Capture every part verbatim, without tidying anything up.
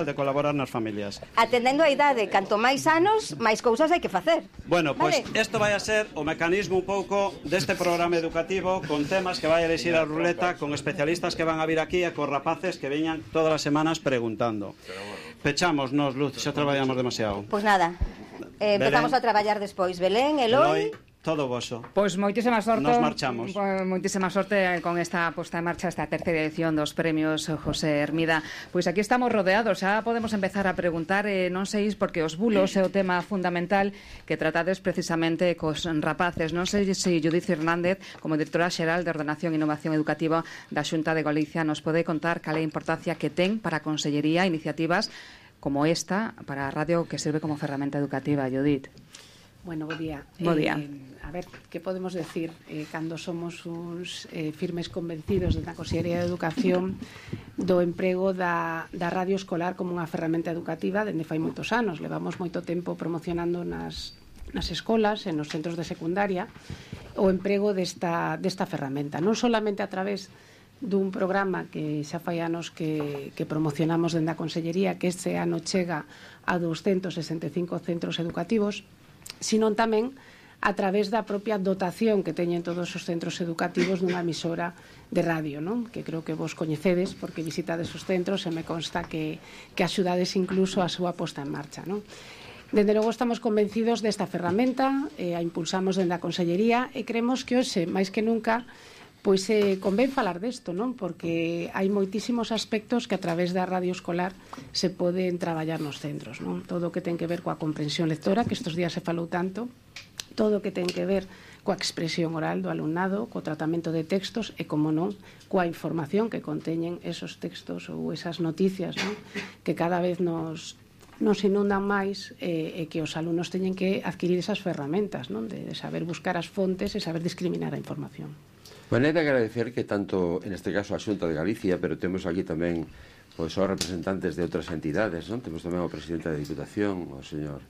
de colaborar nas familias. Atendendo a idade, canto máis anos, máis cousas hai que facer. Bueno, pois vale? isto vai a ser o mecanismo un pouco deste programa educativo con temas que vai a elixir a ruleta, con especialistas que van a vir aquí e con rapaces que veñan todas as semanas preguntando. Pechamos nos, Luz, xa traballamos demasiado. Pois nada, eh, empezamos Belén. a traballar despois. Belén, Eloi... Todo voso. Pois moitísima sorte. Nos marchamos. Pois moitísima sorte con esta posta en marcha, esta terceira edición dos premios José Hermida. Pois aquí estamos rodeados, xa podemos empezar a preguntar, eh, non sei porque os bulos é o tema fundamental que tratades precisamente cos rapaces. Non sei se Judith Fernández, como directora xeral de Ordenación e Innovación Educativa da Xunta de Galicia, nos pode contar cal é a importancia que ten para a Consellería iniciativas como esta para a radio que sirve como ferramenta educativa, Judith. Bueno, bo día. Bo día. Eh, a ver, que podemos decir eh, cando somos uns eh, firmes convencidos da Consellería de Educación do emprego da, da radio escolar como unha ferramenta educativa dende fai moitos anos. Levamos moito tempo promocionando nas, nas escolas e nos centros de secundaria o emprego desta, desta ferramenta. Non solamente a través dun programa que xa fai anos que, que promocionamos dende a Consellería, que este ano chega a douscentos sesenta e cinco centros educativos, sino tamén a través da propia dotación que teñen todos os centros educativos dunha emisora de radio, non? Que creo que vos coñecedes porque visitades os centros e me consta que, que axudades incluso a súa posta en marcha, non? Dende logo estamos convencidos desta ferramenta, eh, a impulsamos dende a Consellería e creemos que hoxe, máis que nunca, pois eh, convén falar desto, non? Porque hai moitísimos aspectos que a través da radio escolar se poden traballar nos centros, non? Todo o que ten que ver coa comprensión lectora, que estes días se falou tanto, todo o que ten que ver coa expresión oral do alumnado, co tratamento de textos e, como non, coa información que conteñen esos textos ou esas noticias, non? Que cada vez nos nos inundan máis eh, e que os alumnos teñen que adquirir esas ferramentas, non? De, de saber buscar as fontes e saber discriminar a información. Bueno, é de agradecer que tanto, en este caso, a Xunta de Galicia, pero temos aquí tamén pois, os representantes de outras entidades, non? Temos tamén o presidente da Diputación, o señor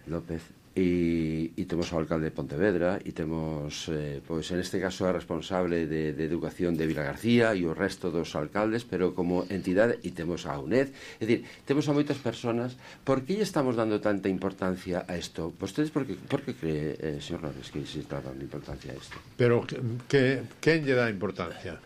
López, e, e temos o alcalde de Pontevedra, e temos, eh, pois, en este caso, a responsable de, de Educación de Vila García e o resto dos alcaldes, pero como entidade, e temos a UNED, é dicir, temos a moitas persoas. Por que lle estamos dando tanta importancia a isto? Vostedes, por que, por que cree, eh, señor López, que se está dando importancia a isto? Pero, que, quen lle dá importancia?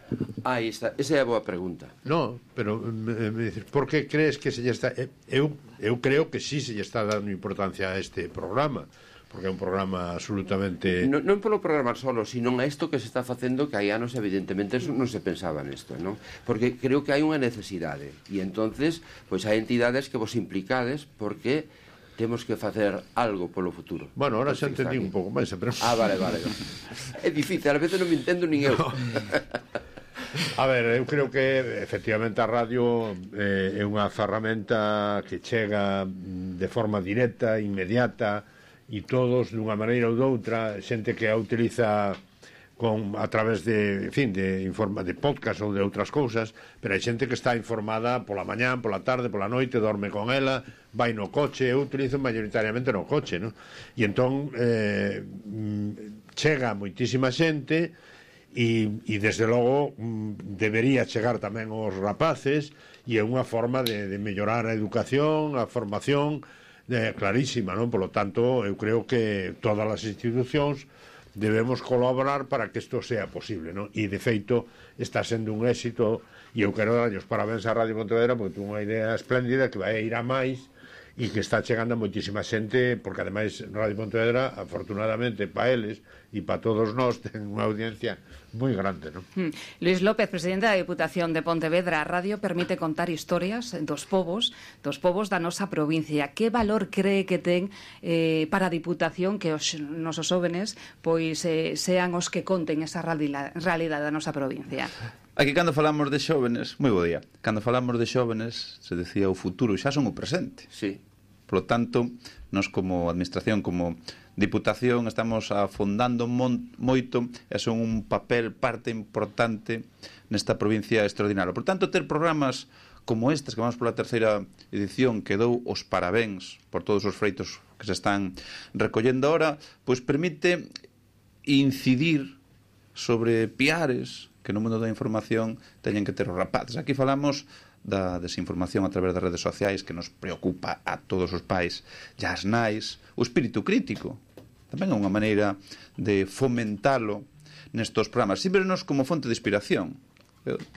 Ah, está, esa é a boa pregunta. No, pero, me, me dices, por que crees que se lle está... Eu, eu creo que sí se lle está dando importancia a este programa, porque é un programa absolutamente... Non, non polo programa solo, sino a isto que se está facendo, que hai anos evidentemente non se pensaba nesto, non? Porque creo que hai unha necesidade, e entonces pois hai entidades que vos implicades porque temos que facer algo polo futuro. Bueno, ahora xa entendí un pouco máis, pero... Ah, vale, vale. É difícil, a veces non me entendo nin eu. No. A ver, eu creo que efectivamente a radio eh, é unha ferramenta que chega de forma directa, inmediata, e todos dunha maneira ou doutra, xente que a utiliza con, a través de, en fin, de, informa, de podcast ou de outras cousas, pero hai xente que está informada pola mañán, pola tarde, pola noite, dorme con ela, vai no coche. Eu utilizo maioritariamente no coche, non? E entón eh, chega moitísima xente e, e desde logo debería chegar tamén aos rapaces, e é unha forma de, de mellorar a educación, a formación eh, clarísima, non? Por lo tanto, eu creo que todas as institucións debemos colaborar para que isto sea posible, non? E de feito está sendo un éxito, e eu quero darlle os parabéns a Radio Pontevedra porque ten unha idea espléndida que vai ir a máis e que está chegando a moitísima xente, porque ademais Radio Pontevedra, afortunadamente para eles e para todos nós, ten unha audiencia moi grande, non? Hmm. Luís López, presidente da Diputación de Pontevedra, a radio permite contar historias dos povos, dos povos da nosa provincia. Que valor cree que ten eh, para a Diputación que os nosos jóvenes pois eh, sean os que conten esa realidade da nosa provincia? Aquí cando falamos de xóvenes, moi bo día, cando falamos de xóvenes, se decía o futuro, xa son o presente. Sí. Por lo tanto, nos como administración, como Diputación, estamos afondando mon, moito e son un papel parte importante nesta provincia extraordinaria. Por tanto, ter programas como estes, que vamos pola terceira edición, que dou os parabéns por todos os freitos que se están recollendo ahora, pois permite incidir sobre piares que no mundo da información teñen que ter os rapaces. Aquí falamos da desinformación a través das redes sociais que nos preocupa a todos os pais e as nais, o espírito crítico tamén é unha maneira de fomentalo nestos programas, sempre nos como fonte de inspiración.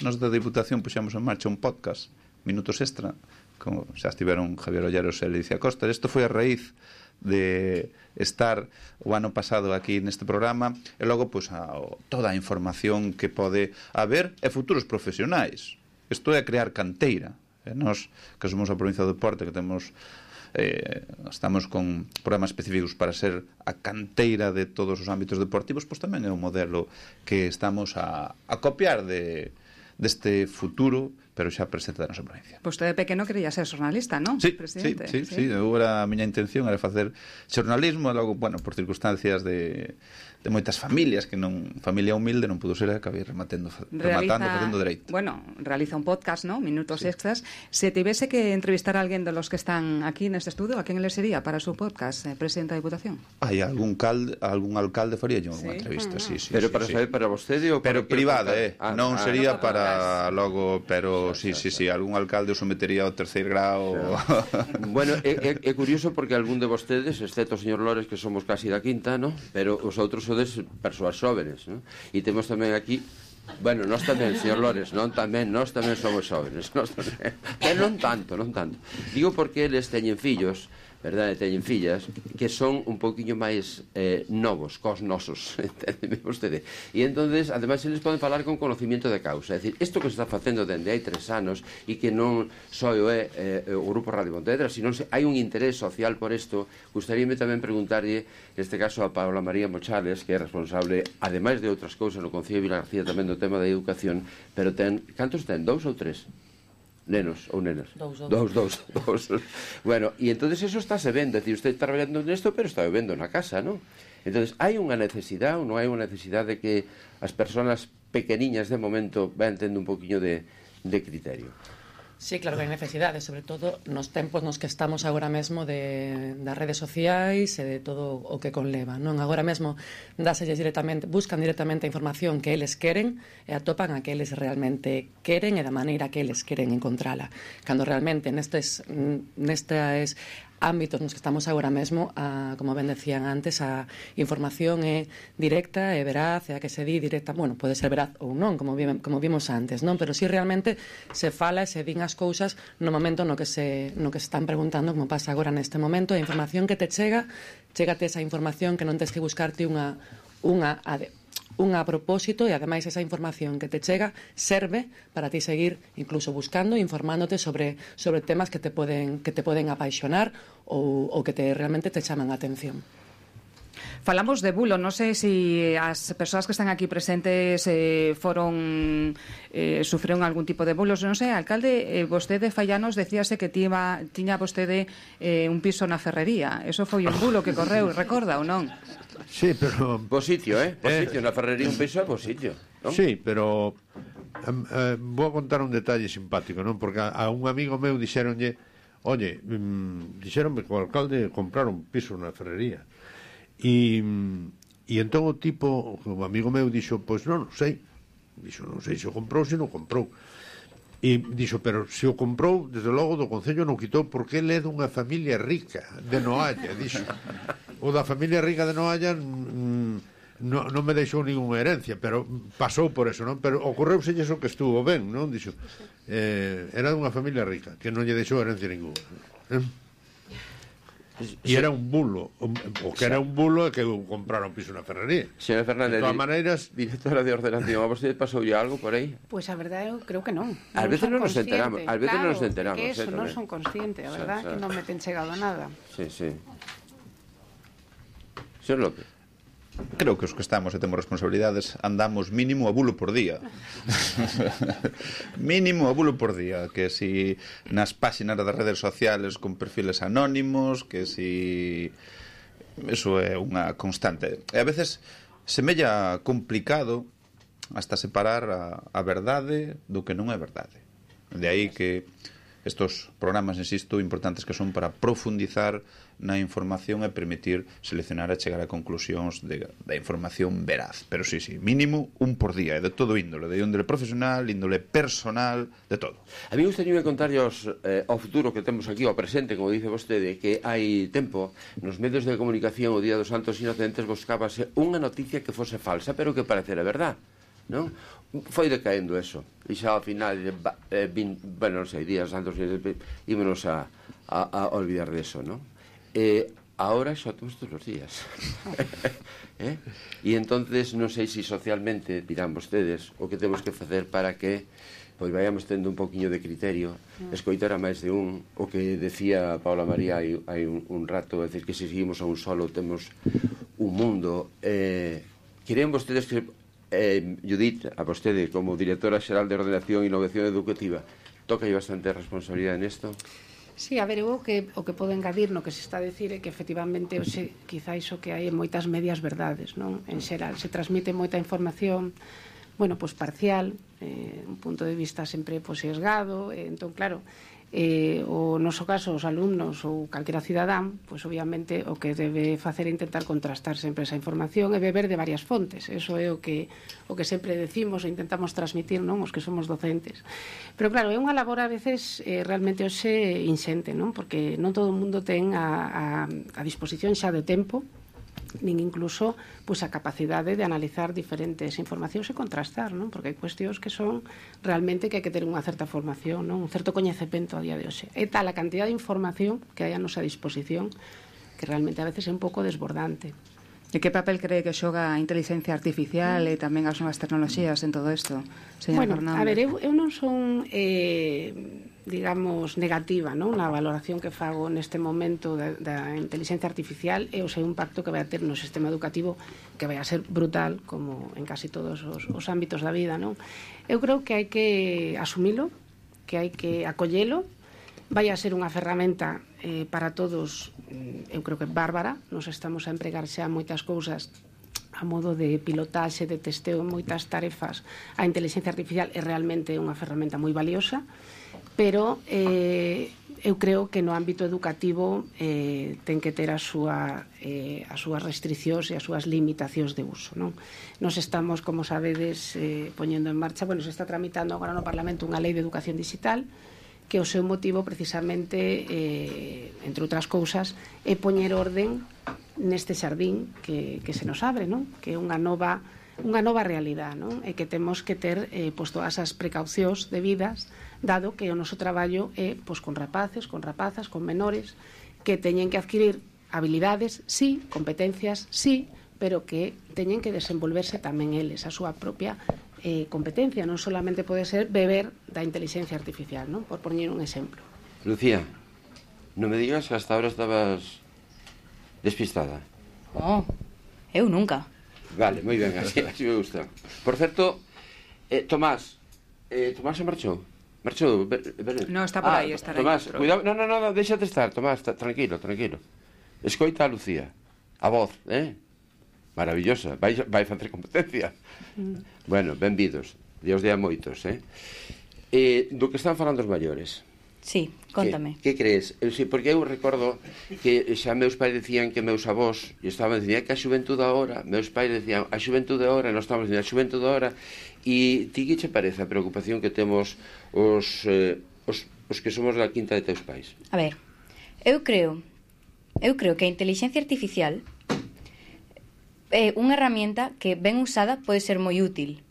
Nos da Diputación puxemos en marcha un podcast, Minutos Extra, como xa estiveron Javier Olleros e Leticia Costa. Isto foi a raíz de estar o ano pasado aquí neste programa e logo pois, a, toda a información que pode haber e futuros profesionais. Isto é crear canteira. E nós, que somos a provincia do Deporte, que temos eh, estamos con programas específicos para ser a canteira de todos os ámbitos deportivos, pois tamén é un modelo que estamos a, a copiar de deste futuro, pero xa presente da nosa provincia. Pois pues de pequeno quería ser xornalista, non? Sí, Presidente? sí, sí, sí. Eu era, a miña intención era facer xornalismo, e logo, bueno, por circunstancias de, de moitas familias, que non, familia humilde non pudo ser, acabei rematando, rematando, facendo dereito. Bueno, realiza un podcast, ¿no? Minutos sí. Extras. Se tivese que entrevistar a alguén de los que están aquí neste estudio, a quen le sería para su podcast, eh, presidente da Diputación? Hai algún calde, algún alcalde faría yo unha sí. entrevista, ah, sí, sí. Pero sí, para sí. saber para vostede ou para pero privada, eh, ah, non ah, sería ah, para logo, pero sí, sí, sí, algún alcalde o sometería ao terceiro grau. Bueno, é, é, é curioso porque algún de vostedes, excepto o señor Lores, que somos casi da quinta, ¿no? Pero os outros sodes persoas xóvenes, ¿no? E temos tamén aquí, bueno, nós tamén, señor Lores, non tamén, nós tamén somos xóvenes, nós tamén, pero non tanto, non tanto. Digo porque eles teñen fillos, verdade, teñen fillas que son un poquinho máis eh, novos cos nosos, entendeme vostede, e entonces ademais eles poden falar con conocimiento de causa, é dicir, isto que se está facendo dende hai tres anos e que non só é eh, o Grupo Radio Pontevedra, sino se hai un interés social por isto. Gustaríame tamén preguntarlle neste caso a Paula María Mochales, que é responsable ademais de outras cousas no Concello de Vilagarcía tamén do tema da educación, pero ten, cantos ten, dous ou tres? Nenos ou nenas? Dous, dous. Dous, dous. Bueno, e entonces eso está se vendo, é dicir, usted está traballando nesto, pero está vendo na casa, non? Entonces, hai unha necesidade ou non hai unha necesidade de que as persoas pequeniñas de momento vayan tendo un poquinho de, de criterio? Sí, claro que hai necesidade, sobre todo nos tempos nos que estamos agora mesmo de, das redes sociais e de todo o que conleva, non? Agora mesmo dáselles directamente, buscan directamente a información que eles queren e atopan a que eles realmente queren e da maneira que eles queren encontrala. Cando realmente nestes, nestes ámbitos nos que estamos agora mesmo, a, como ben decían antes, a información é directa e veraz, e a que se di directa, bueno, pode ser veraz ou non, como, vi, como vimos antes, non? Pero si realmente se fala e se din as cousas no momento no que se no que se están preguntando, como pasa agora neste momento, a información que te chega, chégate esa información que non tens que buscarte unha unha unha a propósito, e ademais esa información que te chega serve para ti seguir incluso buscando e informándote sobre sobre temas que te poden que te poden apaixonar ou, ou que te realmente te chaman a atención. Falamos de bulo, non sei se si as persoas que están aquí presentes eh, foron eh, sufreron algún tipo de bulos, non sei, alcalde, eh, vostede fallanos decíase que tiba, tiña vostede eh, un piso na Ferrería. Eso foi un bulo que correu, recorda ou non? Sí, pero... Por sitio, eh? Por eh... sitio, na Ferrería un piso é por sitio, non? Sí, pero um, uh, vou a contar un detalle simpático, non? Porque a, a un amigo meu dixeronlle, oye, um, dixeronme que o alcalde comprar un piso na Ferrería. E, e entón o tipo, o amigo meu dixo, pois non, non sei, dixo, non sei se o comprou, se non comprou. E dixo, pero se o comprou, desde logo do Concello non quitou, porque ele é dunha familia rica de Noalla, dixo. O da familia rica de Noalla mm, non, non me deixou ninguna herencia, pero pasou por eso, non? Pero ocorreuse eso que estuvo ben, non? Dixo, eh, era dunha familia rica, que non lle deixou herencia ninguna. Eh? E era un bulo, o que era un bulo é que compraron un piso na Ferrería. Señora Fernández, de todas maneiras, directora de ordenación, a vostede pasoulle algo por aí? Pois pues a verdade eu creo que non. Ás veces non nos enteramos, ás veces claro, non nos enteramos, que eso eh, non son conscientes, a verdade, que non me ten chegado nada. Sí, sí. Señor López. Creo que os que estamos e temos responsabilidades andamos mínimo a bulo por día. Mínimo a bulo por día. Que si nas páxinas das redes sociales con perfiles anónimos, que si... Eso é unha constante. E a veces semella complicado hasta separar a, a verdade do que non é verdade. De aí que estos programas, insisto, importantes que son para profundizar na información e permitir seleccionar e chegar a conclusións de, da información veraz. Pero sí, sí, mínimo un por día, de todo índole, de índole profesional, índole personal, de todo. A mí gustaría contarlos eh, ao futuro que temos aquí, ao presente, como dice vostede, que hai tempo, nos medios de comunicación o Día dos Santos Inocentes buscábase unha noticia que fose falsa, pero que parecera verdad, non? Foi decaendo eso, e xa ao final, eh, vin, bueno, non sei, Días Santos Inocentes, ímonos a, a, a olvidar de eso, non? Eh, ahora xa temos todos os días. ¿Eh? E entonces non sei se si socialmente dirán vostedes o que temos que facer para que pois vayamos tendo un poquinho de criterio, escoitar a máis de un, o que decía Paula María hai, hai un, un rato, é dicir que se seguimos a un solo temos un mundo. Eh, querían vostedes que eh, Judith, a vostede como directora xeral de Ordenación e Innovación Educativa, toca aí bastante responsabilidade nesto? Sí, a ver, eu o que, o que podo engadir no que se está a decir é que efectivamente hoxe quizá iso que hai moitas medias verdades, non? En xeral, se transmite moita información, bueno, pois parcial, eh, un punto de vista sempre pois sesgado, eh, entón claro, eh, o noso caso os alumnos ou calquera cidadán, pois obviamente o que debe facer é intentar contrastar sempre esa información e beber de varias fontes. Eso é o que o que sempre decimos e intentamos transmitir, non, os que somos docentes. Pero claro, é unha labor a veces eh, realmente hoxe inxente, non? Porque non todo o mundo ten a, a, a disposición xa de tempo, nin incluso pois, a capacidade de analizar diferentes informacións e contrastar, non? Porque hai cuestións que son realmente que hai que ter unha certa formación, non? Un certo coñecemento a día de hoxe. É tal a cantidad de información que hai a nosa disposición que realmente a veces é un pouco desbordante. E que papel cree que xoga a inteligencia artificial e tamén as novas tecnoloxías en todo isto, señor bueno, Fernández? A ver, eu, eu non son... Eh, digamos, negativa, non? Na valoración que fago neste momento da, da inteligencia artificial e o seu impacto que vai a ter no sistema educativo, que vai a ser brutal, como en casi todos os, os ámbitos da vida, non? Eu creo que hai que asumilo, que hai que acollelo, vai a ser unha ferramenta eh, para todos, eu creo que bárbara, nos estamos a empregar xa moitas cousas a modo de pilotaxe, de testeo en moitas tarefas. A inteligencia artificial é realmente unha ferramenta moi valiosa, pero eh, eu creo que no ámbito educativo eh, ten que ter a súa, eh, as súas restriccións e as súas limitacións de uso, non? Nos estamos, como sabedes, eh, poñendo en marcha, bueno, se está tramitando agora no Parlamento unha lei de educación digital que o seu motivo precisamente, eh, entre outras cousas, é poñer orden neste xardín que, que se nos abre, non? Que é unha nova unha nova realidade, non? E que temos que ter eh, pois todas as precaucións debidas, dado que o noso traballo é pois con rapaces, con rapazas, con menores que teñen que adquirir habilidades, sí, competencias, sí, pero que teñen que desenvolverse tamén eles a súa propia eh, competencia, non solamente pode ser beber da inteligencia artificial, non? Por poñer un exemplo. Lucía, non me digas que hasta ahora estabas despistada. No, eu nunca. Vale, moi ben, así, así me gusta. Por certo, eh, Tomás, eh, Tomás se marchou? Marchou? Ver, ver... No, está por ah, aí, está Tomás, aí. Cuidado, no, no, no, déxate estar, Tomás, ta, tranquilo, tranquilo. Escoita a Lucía, a voz, eh? Maravillosa, vai, vai facer competencia. Mm. Bueno, benvidos, Dios de a moitos, eh? eh? Do que están falando os maiores. Sí, contame. Que, que crees? Eu, sí, porque eu recordo que xa meus pais decían que meus avós e estaban dicindo que a xuventude agora, meus pais decían a xuventude agora, nós estamos dicindo a xuventude agora, e ti que che parece a preocupación que temos os, eh, os, os que somos da quinta de teus pais? A ver, eu creo eu creo que a inteligencia artificial é unha herramienta que ben usada pode ser moi útil,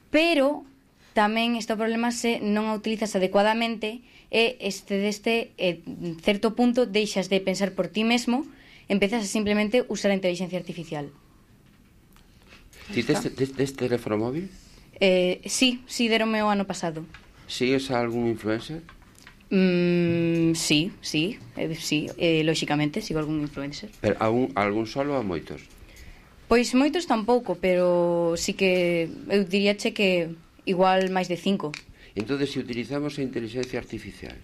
pero tamén este problema se non a utilizas adecuadamente e este deste eh, certo punto deixas de pensar por ti mesmo, empezas a simplemente usar a inteligencia artificial. Ti tes, tes, tes teléfono móvil? Eh, sí, sí, deronme o ano pasado. Sigues a algún influencer? Mm, sí, sí, eh, sí, eh, lóxicamente sigo algún influencer. Pero algún, algún solo ou a moitos? Pois moitos tampouco, pero sí que eu diríache que igual máis de cinco. Entón, se utilizamos a inteligencia artificial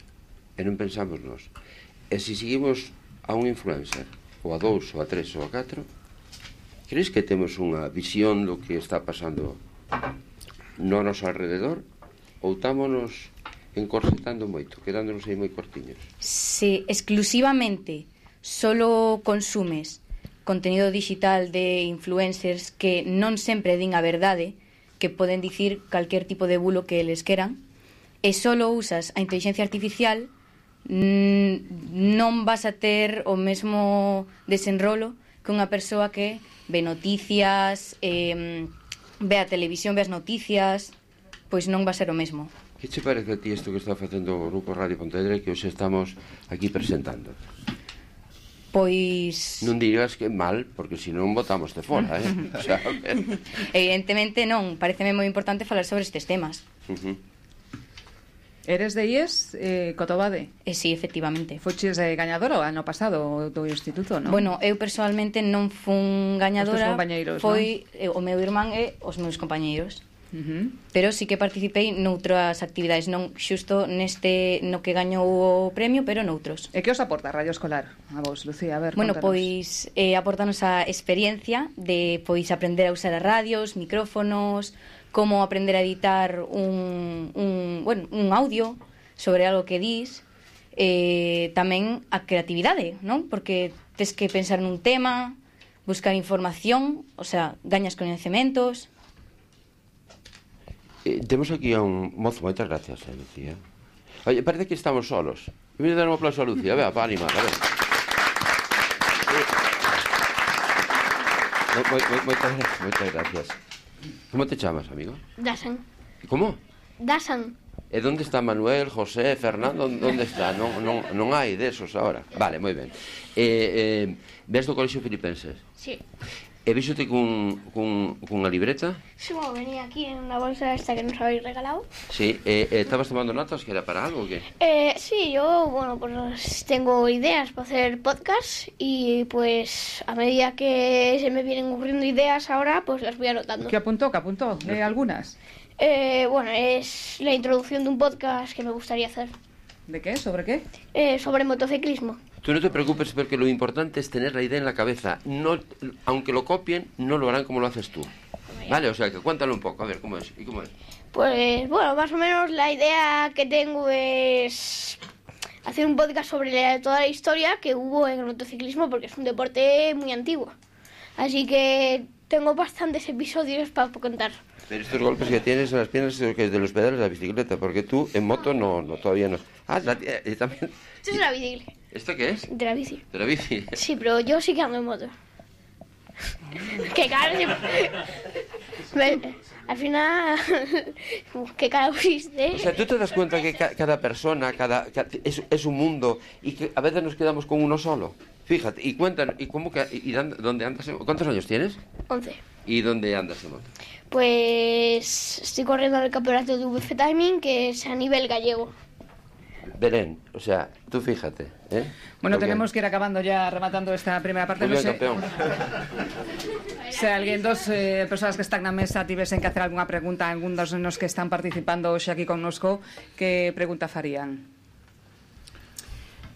e non pensamos nos, e se seguimos a un influencer, ou a dous, ou a tres, ou a catro, crees que temos unha visión do que está pasando no noso alrededor? Ou támonos encorsetando moito, quedándonos aí moi cortiños. Se exclusivamente solo consumes contenido digital de influencers que non sempre din a verdade, que poden dicir calquer tipo de bulo que eles queran, e solo usas a inteligencia artificial, non vas a ter o mesmo desenrolo que unha persoa que ve noticias, eh, ve a televisión, ve as noticias, pois non va a ser o mesmo. Que che parece a ti isto que está facendo o Grupo Radio Pontevedra que hoxe estamos aquí presentando? Pois... Non digas que mal, porque senón botamos de fora, eh? O sea, evidentemente non, pareceme moi importante falar sobre estes temas. Uh -huh. Eres de I E S, eh, Cotobade? Eh, sí, efectivamente. Foches eh, gañadora o ano pasado do instituto, non? Bueno, eu personalmente non fun gañadora, foi non? eh, o meu irmán e os meus compañeiros. Uh -huh. Pero sí que participei noutras actividades, non xusto neste no que gañou o premio, pero noutros. E que os aporta Radio Escolar a vos, Lucía? A ver, bueno, contanos. pois eh, aportanos a experiencia de pois aprender a usar as radios, micrófonos, como aprender a editar un, un, bueno, un audio sobre algo que dis, eh, tamén a creatividade, non? Porque tes que pensar nun tema, buscar información, o sea, gañas coñecementos. Eh, temos aquí a un mozo, moitas gracias, eh, Lucía. Oye, parece que estamos solos. Voy a dar un aplauso a Lucía, vea, para animar, a ver. Eh, mo, mo, moitas, moitas gracias. Como te chamas, amigo? Dasan. Como? Dasan. E onde está Manuel, José, Fernando? Onde está? Non, non, non hai desos agora. Vale, moi ben. Eh, eh, ves do Colexio Filipenses? Sí. E víxote cun, cun, cunha libreta? Sí, bueno, venía aquí en unha bolsa esta que nos habéis regalado. Sí, e eh, estabas tomando notas que era para algo o qué? Eh, sí, yo, bueno, pues tengo ideas para hacer podcast y pues a medida que se me vienen ocurriendo ideas ahora, pues las voy anotando. ¿Qué apuntó? ¿Qué apuntó? ¿Eh, algunas? Eh, bueno, es la introducción de un podcast que me gustaría hacer. ¿De qué? ¿Sobre qué? Eh, sobre motociclismo. Tú no te preocupes porque lo importante es tener la idea en la cabeza. No, aunque lo copien, no lo harán como lo haces tú. Vale, o sea, que cuéntalo un poco, a ver, ¿cómo es? ¿Y cómo es? Pues, bueno, más o menos la idea que tengo es hacer un podcast sobre la, toda la historia que hubo en el motociclismo porque es un deporte muy antiguo. Así que tengo bastantes episodios para contar. Pero estos golpes que tienes en las piernas son de los pedales de la bicicleta, porque tú en moto no, no todavía no. Ah, la, eh, también. Esto es la bici. ¿Esto qué es? De la bici. De la bici. Sí, pero yo sí que ando en moto. Qué cara. Me, al final, qué cara pusiste. O sea, tú te das cuenta que ca cada persona, cada, cada es, es un mundo y que a veces nos quedamos con uno solo. Fíjate, y cuéntanos, ¿y cómo que y dónde andas? En, ¿Cuántos años tienes? Once. ¿Y dónde andas en moto? Pues estoy corriendo en el campeonato de V F Timing, que es a nivel gallego. Belén, o sea, tú fíjate, ¿eh? Bueno, Porque... tenemos que ir acabando ya, rematando esta primera parte. Muy bien, no sé campeón. se alguén dos eh, persoas que están na mesa tivesen que hacer algunha pregunta a algún dos nos que están participando hoxe aquí connosco, que pregunta farían?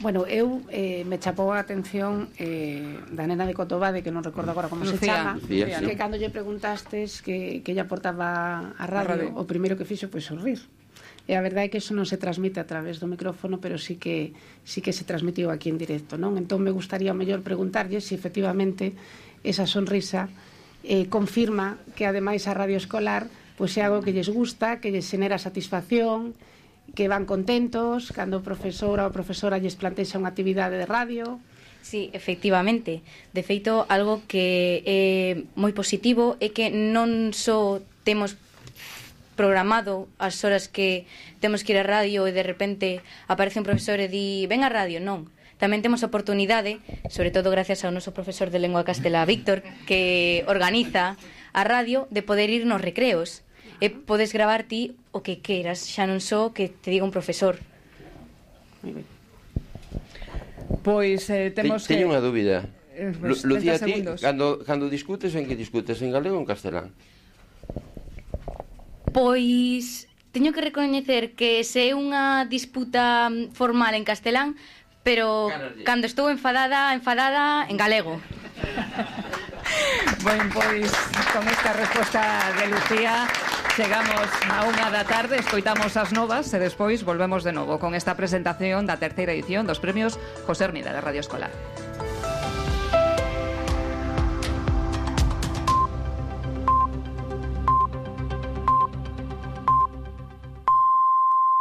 Bueno, eu eh, me chapou a atención eh, da nena de Cotobade, que non recordo agora como Lucía, se chama, Lucía, que sí. cando lle preguntastes que, que ella aportaba a radio, radio, o primeiro que fixo foi sorrir. E a verdade é que eso non se transmite a través do micrófono, pero sí que sí que se transmitiu aquí en directo, non? Entón me gustaría mellor preguntarlle se efectivamente esa sonrisa eh, confirma que ademais a radio escolar pois é algo que lles gusta, que lles xenera satisfacción, que van contentos cando o profesor ou a profesora lles plantexa unha actividade de radio. Sí, efectivamente. De feito, algo que é moi positivo é que non só temos programado as horas que temos que ir á radio e de repente aparece un profesor e di ven á radio, non. Tamén temos a oportunidade, sobre todo gracias ao noso profesor de lengua castelá, Víctor, que organiza a radio, de poder ir nos recreos. E podes gravar ti o que queiras, xa non só que te diga un profesor. Pois eh, temos Te, que... teño unha dúbida. Eh, pues, Lu, Lucía, ti, segundos. cando, cando discutes, en que discutes? En galego ou en castelán? Pois teño que recoñecer que se é unha disputa formal en castelán, pero Carallo. cando estou enfadada, enfadada en galego. Bueno, pois con esta resposta de Lucía Chegamos a unha da tarde, escoitamos as novas e despois volvemos de novo con esta presentación da terceira edición dos premios José Hermida de Radio Escolar.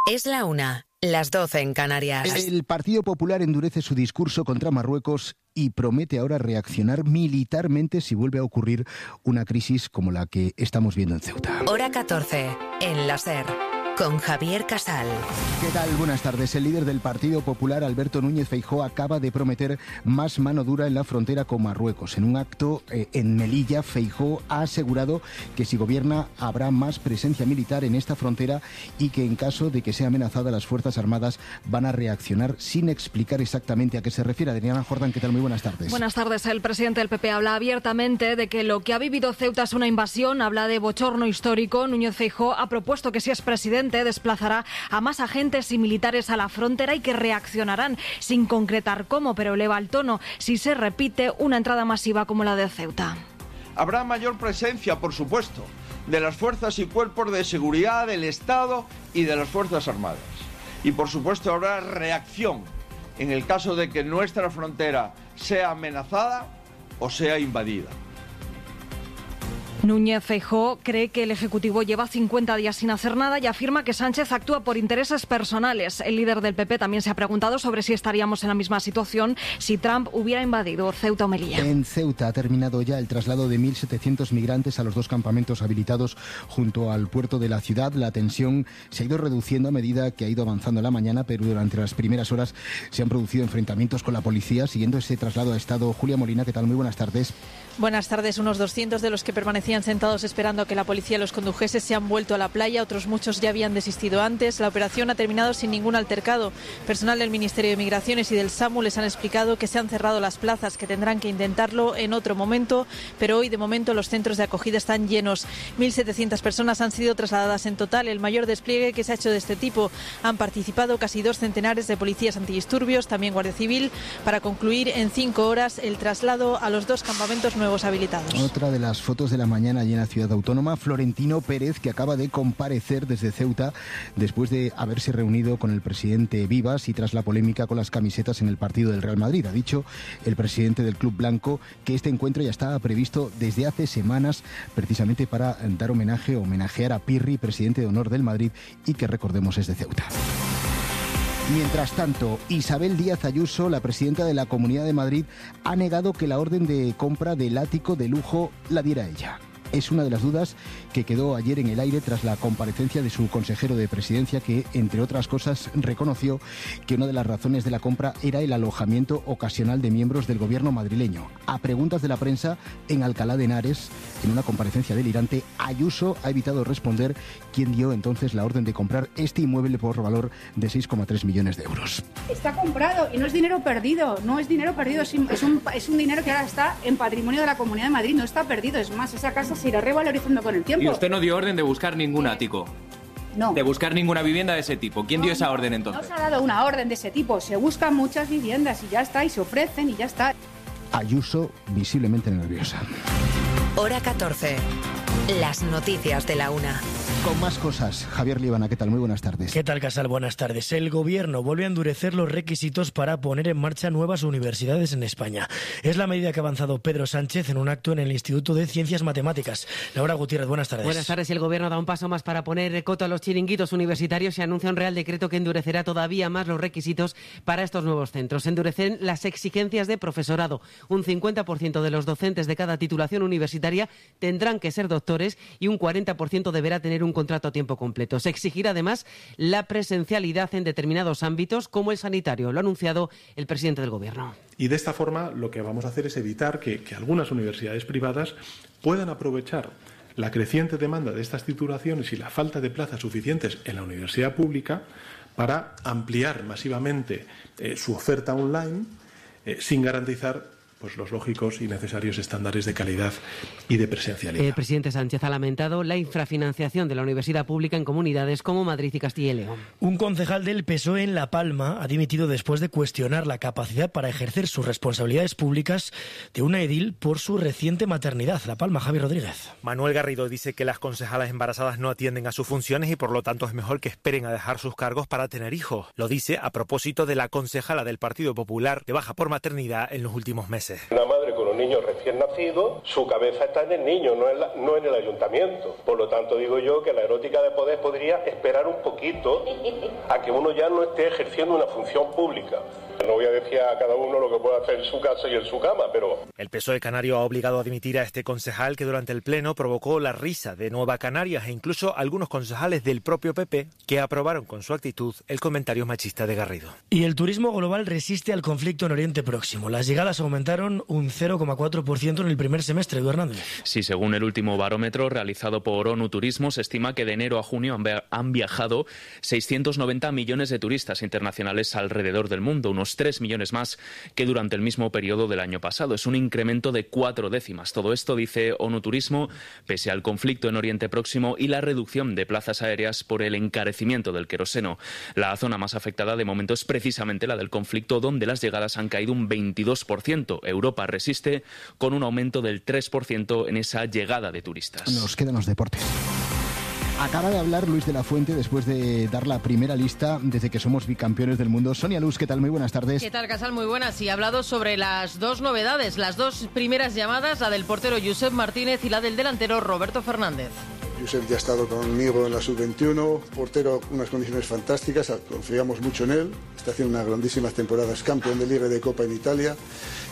Es la una, las doce en Canarias. El Partido Popular endurece su discurso contra Marruecos y promete ahora reaccionar militarmente si vuelve a ocurrir una crisis como la que estamos viendo en Ceuta. Hora catorce, en la SER, con Javier Casal. ¿Qué tal? Buenas tardes. El líder del Partido Popular, Alberto Núñez Feijóo, acaba de prometer más mano dura en la frontera con Marruecos. En un acto eh, en Melilla, Feijóo ha asegurado que si gobierna habrá más presencia militar en esta frontera y que en caso de que sea amenazada las Fuerzas Armadas van a reaccionar sin explicar exactamente a qué se refiere. Adriana Jordán, ¿qué tal? Muy buenas tardes. Buenas tardes. El presidente del P P habla abiertamente de que lo que ha vivido Ceuta es una invasión, habla de bochorno histórico. Núñez Feijóo ha propuesto que si es presidente desplazará a más agentes y militares a la frontera y que reaccionarán sin concretar cómo, pero eleva el tono si se repite una entrada masiva como la de Ceuta. Habrá mayor presencia, por supuesto, de las fuerzas y cuerpos de seguridad del Estado y de las Fuerzas Armadas. Y por supuesto habrá reacción en el caso de que nuestra frontera sea amenazada o sea invadida. Núñez Feijóo cree que el Ejecutivo lleva cincuenta días sin hacer nada y afirma que Sánchez actúa por intereses personales. El líder del P P también se ha preguntado sobre si estaríamos en la misma situación si Trump hubiera invadido Ceuta o Melilla. En Ceuta ha terminado ya el traslado de mil setecientos migrantes a los dos campamentos habilitados junto al puerto de la ciudad. La tensión se ha ido reduciendo a medida que ha ido avanzando la mañana, pero durante las primeras horas se han producido enfrentamientos con la policía. Siguiendo ese traslado ha estado Julia Molina. ¿Qué tal? Muy buenas tardes. Buenas tardes. Unos doscientos de los que permanecían sentados esperando a que la policía los condujese se han vuelto a la playa. Otros muchos ya habían desistido antes. La operación ha terminado sin ningún altercado. Personal del Ministerio de Migraciones y del SAMU les han explicado que se han cerrado las plazas, que tendrán que intentarlo en otro momento, pero hoy de momento los centros de acogida están llenos. mil setecientas personas han sido trasladadas en total, el mayor despliegue que se ha hecho de este tipo. Han participado casi dos centenares de policías antidisturbios, también Guardia Civil, para concluir en cinco horas el traslado a los dos campamentos nuevos habilitados. Otra de las fotos de la mañana allí en la ciudad autónoma, Florentino Pérez, que acaba de comparecer desde Ceuta después de haberse reunido con el presidente Vivas y tras la polémica con las camisetas en el partido del Real Madrid. Ha dicho el presidente del Club Blanco que este encuentro ya estaba previsto desde hace semanas, precisamente para dar homenaje, homenajear a Pirri, presidente de honor del Madrid, y que recordemos es de Ceuta. Mientras tanto, Isabel Díaz Ayuso, la presidenta de la Comunidad de Madrid, ha negado que la orden de compra del ático de lujo la diera ella. Es una de las dudas que quedó ayer en el aire tras la comparecencia de su consejero de Presidencia, que, entre otras cosas, reconoció que una de las razones de la compra era el alojamiento ocasional de miembros del gobierno madrileño. A preguntas de la prensa en Alcalá de Henares, en una comparecencia delirante, Ayuso ha evitado responder quién dio entonces la orden de comprar este inmueble por valor de seis coma tres millones de euros. Está comprado y no es dinero perdido, no es dinero perdido, es un, es un dinero que ahora está en patrimonio de la Comunidad de Madrid, no está perdido, es más, esa casa se irá revalorizando con el tiempo. Y usted no dio orden de buscar ningún ático. No. De buscar ninguna vivienda de ese tipo. ¿Quién no, dio esa no, orden entonces? No se ha dado una orden de ese tipo. Se buscan muchas viviendas y ya está, y se ofrecen y ya está. Ayuso visiblemente nerviosa. Hora catorce. Las noticias de la una. Con más cosas, Javier Líbana, ¿qué tal? Muy buenas tardes. ¿Qué tal, Casal? Buenas tardes. El Gobierno vuelve a endurecer los requisitos para poner en marcha nuevas universidades en España. Es la medida que ha avanzado Pedro Sánchez en un acto en el Instituto de Ciencias Matemáticas. Laura Gutiérrez, buenas tardes. Buenas tardes. El Gobierno da un paso más para poner coto a los chiringuitos universitarios y anuncia un Real Decreto que endurecerá todavía más los requisitos para estos nuevos centros. Endurecen las exigencias de profesorado. Un cincuenta por ciento de los docentes de cada titulación universitaria tendrán que ser doctores y un cuarenta por ciento deberá tener un un contrato a tiempo completo. Se exigirá además la presencialidad en determinados ámbitos como el sanitario. Lo ha anunciado el presidente del Gobierno. Y de esta forma lo que vamos a hacer es evitar que, que algunas universidades privadas puedan aprovechar la creciente demanda de estas titulaciones y la falta de plazas suficientes en la universidad pública para ampliar masivamente eh, su oferta online eh, sin garantizar pues los lógicos y necesarios estándares de calidad y de presencialidad. El presidente Sánchez ha lamentado la infrafinanciación de la universidad pública en comunidades como Madrid y Castilla y León. Un concejal del P S O E en La Palma ha dimitido después de cuestionar la capacidad para ejercer sus responsabilidades públicas de una edil por su reciente maternidad. La Palma, Javi Rodríguez. Manuel Garrido dice que las concejalas embarazadas no atienden a sus funciones y por lo tanto es mejor que esperen a dejar sus cargos para tener hijos. Lo dice a propósito de la concejala del Partido Popular de baja por maternidad en los últimos meses. Una madre con un niño recién nacido, su cabeza está en el niño, no en, la, no en el ayuntamiento. Por lo tanto, digo yo que la erótica de poder podría esperar un poquito a que uno ya no esté ejerciendo una función pública. No voy a decir a cada uno lo que puede hacer en su casa y en su cama, pero... El P S O E canario ha obligado a dimitir a este concejal que durante el pleno provocó la risa de Nueva Canarias e incluso algunos concejales del propio P P que aprobaron con su actitud el comentario machista de Garrido. Y el turismo global resiste al conflicto en Oriente Próximo. Las llegadas aumentaron un cero coma cuatro por ciento en el primer semestre, Edu Hernández. Sí, según el último barómetro realizado por ONU Turismo, se estima que de enero a junio han viajado seiscientos noventa millones de turistas internacionales alrededor del mundo, unos tres millones más que durante el mismo periodo del año pasado. Es un incremento de cuatro décimas. Todo esto, dice ONU Turismo, pese al conflicto en Oriente Próximo y la reducción de plazas aéreas por el encarecimiento del queroseno. La zona más afectada de momento es precisamente la del conflicto, donde las llegadas han caído un veintidós por ciento. Europa resiste con un aumento del tres por ciento en esa llegada de turistas. Nos quedan los deportes. Acaba de hablar Luis de la Fuente después de dar la primera lista desde que somos bicampeones del mundo. Sonia Luz, ¿qué tal? Muy buenas tardes. ¿Qué tal, Casal? Muy buenas. Y ha hablado sobre las dos novedades, las dos primeras llamadas, la del portero Josep Martínez y la del delantero Roberto Fernández. Josep ya ha estado conmigo en la sub veintiuno, portero, unas condiciones fantásticas, confiamos mucho en él, está haciendo unas grandísimas temporadas, campeón de Liga y de Copa en Italia.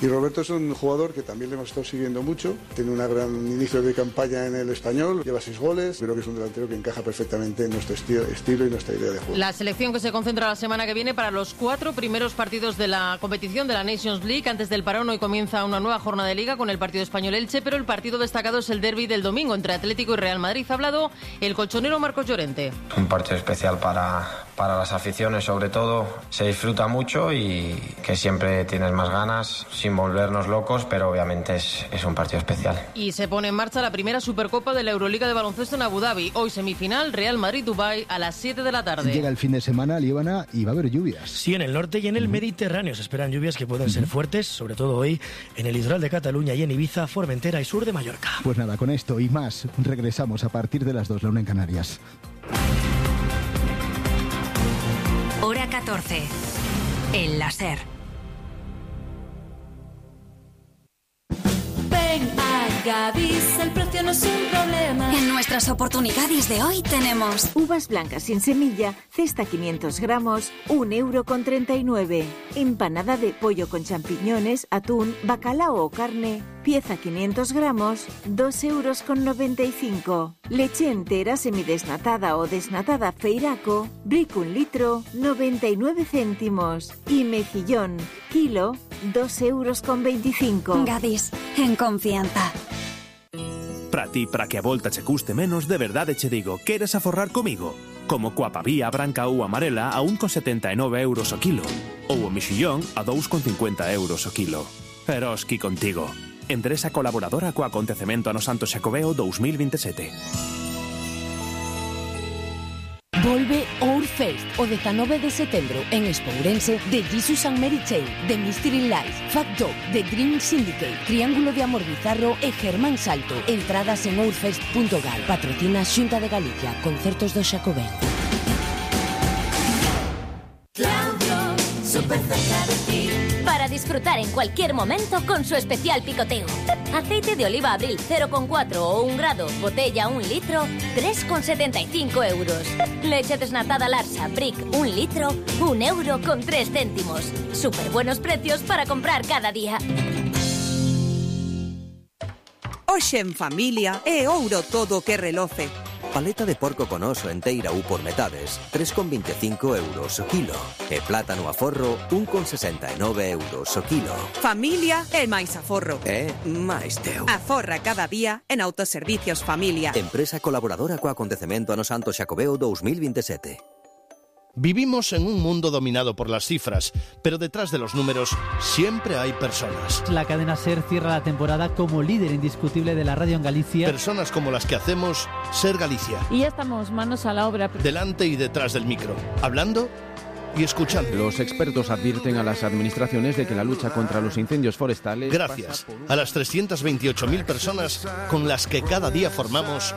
Y Roberto es un jugador que también le hemos estado siguiendo mucho, tiene un gran inicio de campaña en el Español, lleva seis goles, creo que es un delantero que encaja perfectamente en nuestro esti- estilo y nuestra idea de juego. La selección que se concentra la semana que viene para los cuatro primeros partidos de la competición de la Nations League. Antes del parón hoy comienza una nueva jornada de Liga con el partido Español-Elche, pero el partido destacado es el derbi del domingo entre Atlético y Real Madrid. Ha hablado el colchonero Marcos Llorente. Un partido especial para, para las aficiones, sobre todo. Se disfruta mucho y que siempre tienes más ganas, sin volvernos locos, pero obviamente es, es un partido especial. Y se pone en marcha la primera Supercopa de la Euroliga de baloncesto en Abu Dhabi. Hoy semifinal, Real Madrid-Dubái a las siete de la tarde. Llega el fin de semana, Líbana, y va a haber lluvias. Sí, en el norte y en el uh-huh. Mediterráneo se esperan lluvias que pueden uh-huh. ser fuertes, sobre todo hoy en el litoral de Cataluña y en Ibiza, Formentera y sur de Mallorca. Pues nada, con esto y más regresamos a partir de las dos, la una en Canarias. Hora catorce. El láser. Ven a Gadis, el precio no es un problema. En nuestras oportunidades de hoy tenemos uvas blancas sin semilla, cesta quinientos gramos, un euro con treinta y nueve. Empanada de pollo con champiñones, atún, bacalao o carne, pieza quinientos gramos, dos euros con noventa y cinco. Leche entera semidesnatada o desnatada Feiraco, brick un litro, noventa y nueve céntimos. Y mejillón, kilo, dos euros con veinticinco. Gadis, en confianza. Para ti, para que a volta che custe menos, de verdade che digo, queres aforrar comigo? Como coa pavía branca ou amarela a un con setenta e nove euros o kilo. Ou o mexillón a dous con cincuenta euros o kilo. Eroski contigo. Empresa colaboradora co acontecemento ano Santo Xacobeo dous mil veintisiete. Volve Ourfest o dezanove de setembro en Espourense de Jesus and Mary Chain, de Mystery Lies, Fat Dog, de Dream Syndicate, Triángulo de Amor Bizarro e Germán Salto. Entradas en ourfest punto gal. Patrocina Xunta de Galicia, concertos do Xacobeo. Claudio, súper cerca de ti. Para disfrutar en cualquier momento con su especial picoteo. Aceite de oliva Abril cero coma cuatro o un grado, botella un litro, tres con setenta y cinco euros. Leche desnatada Larsa, Brick un litro, un euro con tres céntimos. Súper buenos precios para comprar cada día. Hoxe en familia é ouro todo que reloce. Paleta de porco con oso enteira ou por metades, tres con veinticinco euros o kilo. E plátano a forro, un con sesenta e nove euros o kilo. Familia é máis aforro. É máis teu. Aforra cada día en Autoservicios Familia. Empresa colaboradora co acontecemento ano Santo Xacobeo dous mil veintisiete. Vivimos en un mundo dominado por las cifras, pero detrás de los números siempre hay personas. La cadena SER cierra la temporada como líder indiscutible de la radio en Galicia. Personas como las que hacemos SER Galicia. Y ya estamos manos a la obra. Delante y detrás del micro, hablando y escuchando. Los expertos advierten a las administraciones de que la lucha contra los incendios forestales... Gracias a las trescientas veintiocho mil personas con las que cada día formamos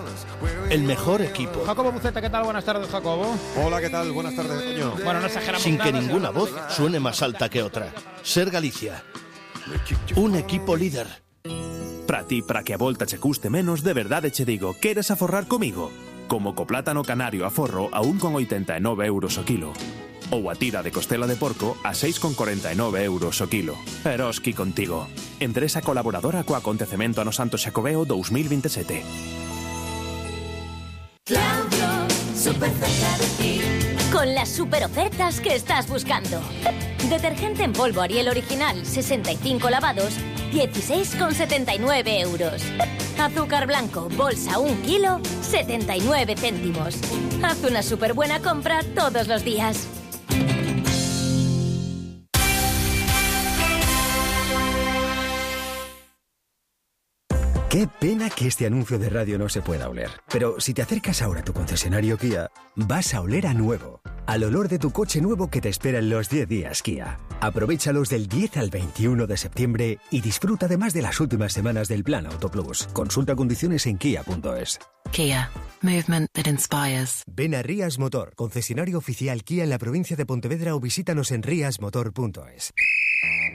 el mejor equipo. Jacobo Buceta, ¿qué tal? Buenas tardes, Jacobo. Hola, ¿qué tal? Buenas tardes, Toño. Bueno, no exageramos Sin nada, que ninguna voz suene más alta que otra. SER Galicia. Un equipo líder. Para ti, para que a volta che custe menos, de verdade che digo, queres aforrar comigo? Como co plátano canario a forro a un con oitenta e nove euros o kilo. Ou a tira de costela de porco a seis con corenta e nove euros o kilo. Eroski contigo. Empresa colaboradora co acontecemento ano Santo Xacobeo dos mil veintisiete. Claudio, super cerca de ti. Con las super ofertas que estás buscando. Detergente en polvo Ariel original, sesenta y cinco lavados, dieciséis con setenta y nueve euros. Azúcar blanco, bolsa un kilo, setenta y nueve céntimos. Haz una super buena compra todos los días. Qué pena que este anuncio de radio no se pueda oler. Pero si te acercas ahora a tu concesionario Kia, vas a oler a nuevo. Al olor de tu coche nuevo que te espera en los diez días Kia. Aprovéchalos del diez al veintiuno de septiembre y disfruta además de las últimas semanas del Plan Auto Plus. Consulta condiciones en kia punto es. Kia. Movement that inspires. Ven a Rías Motor, concesionario oficial Kia en la provincia de Pontevedra, o visítanos en rias motor punto es.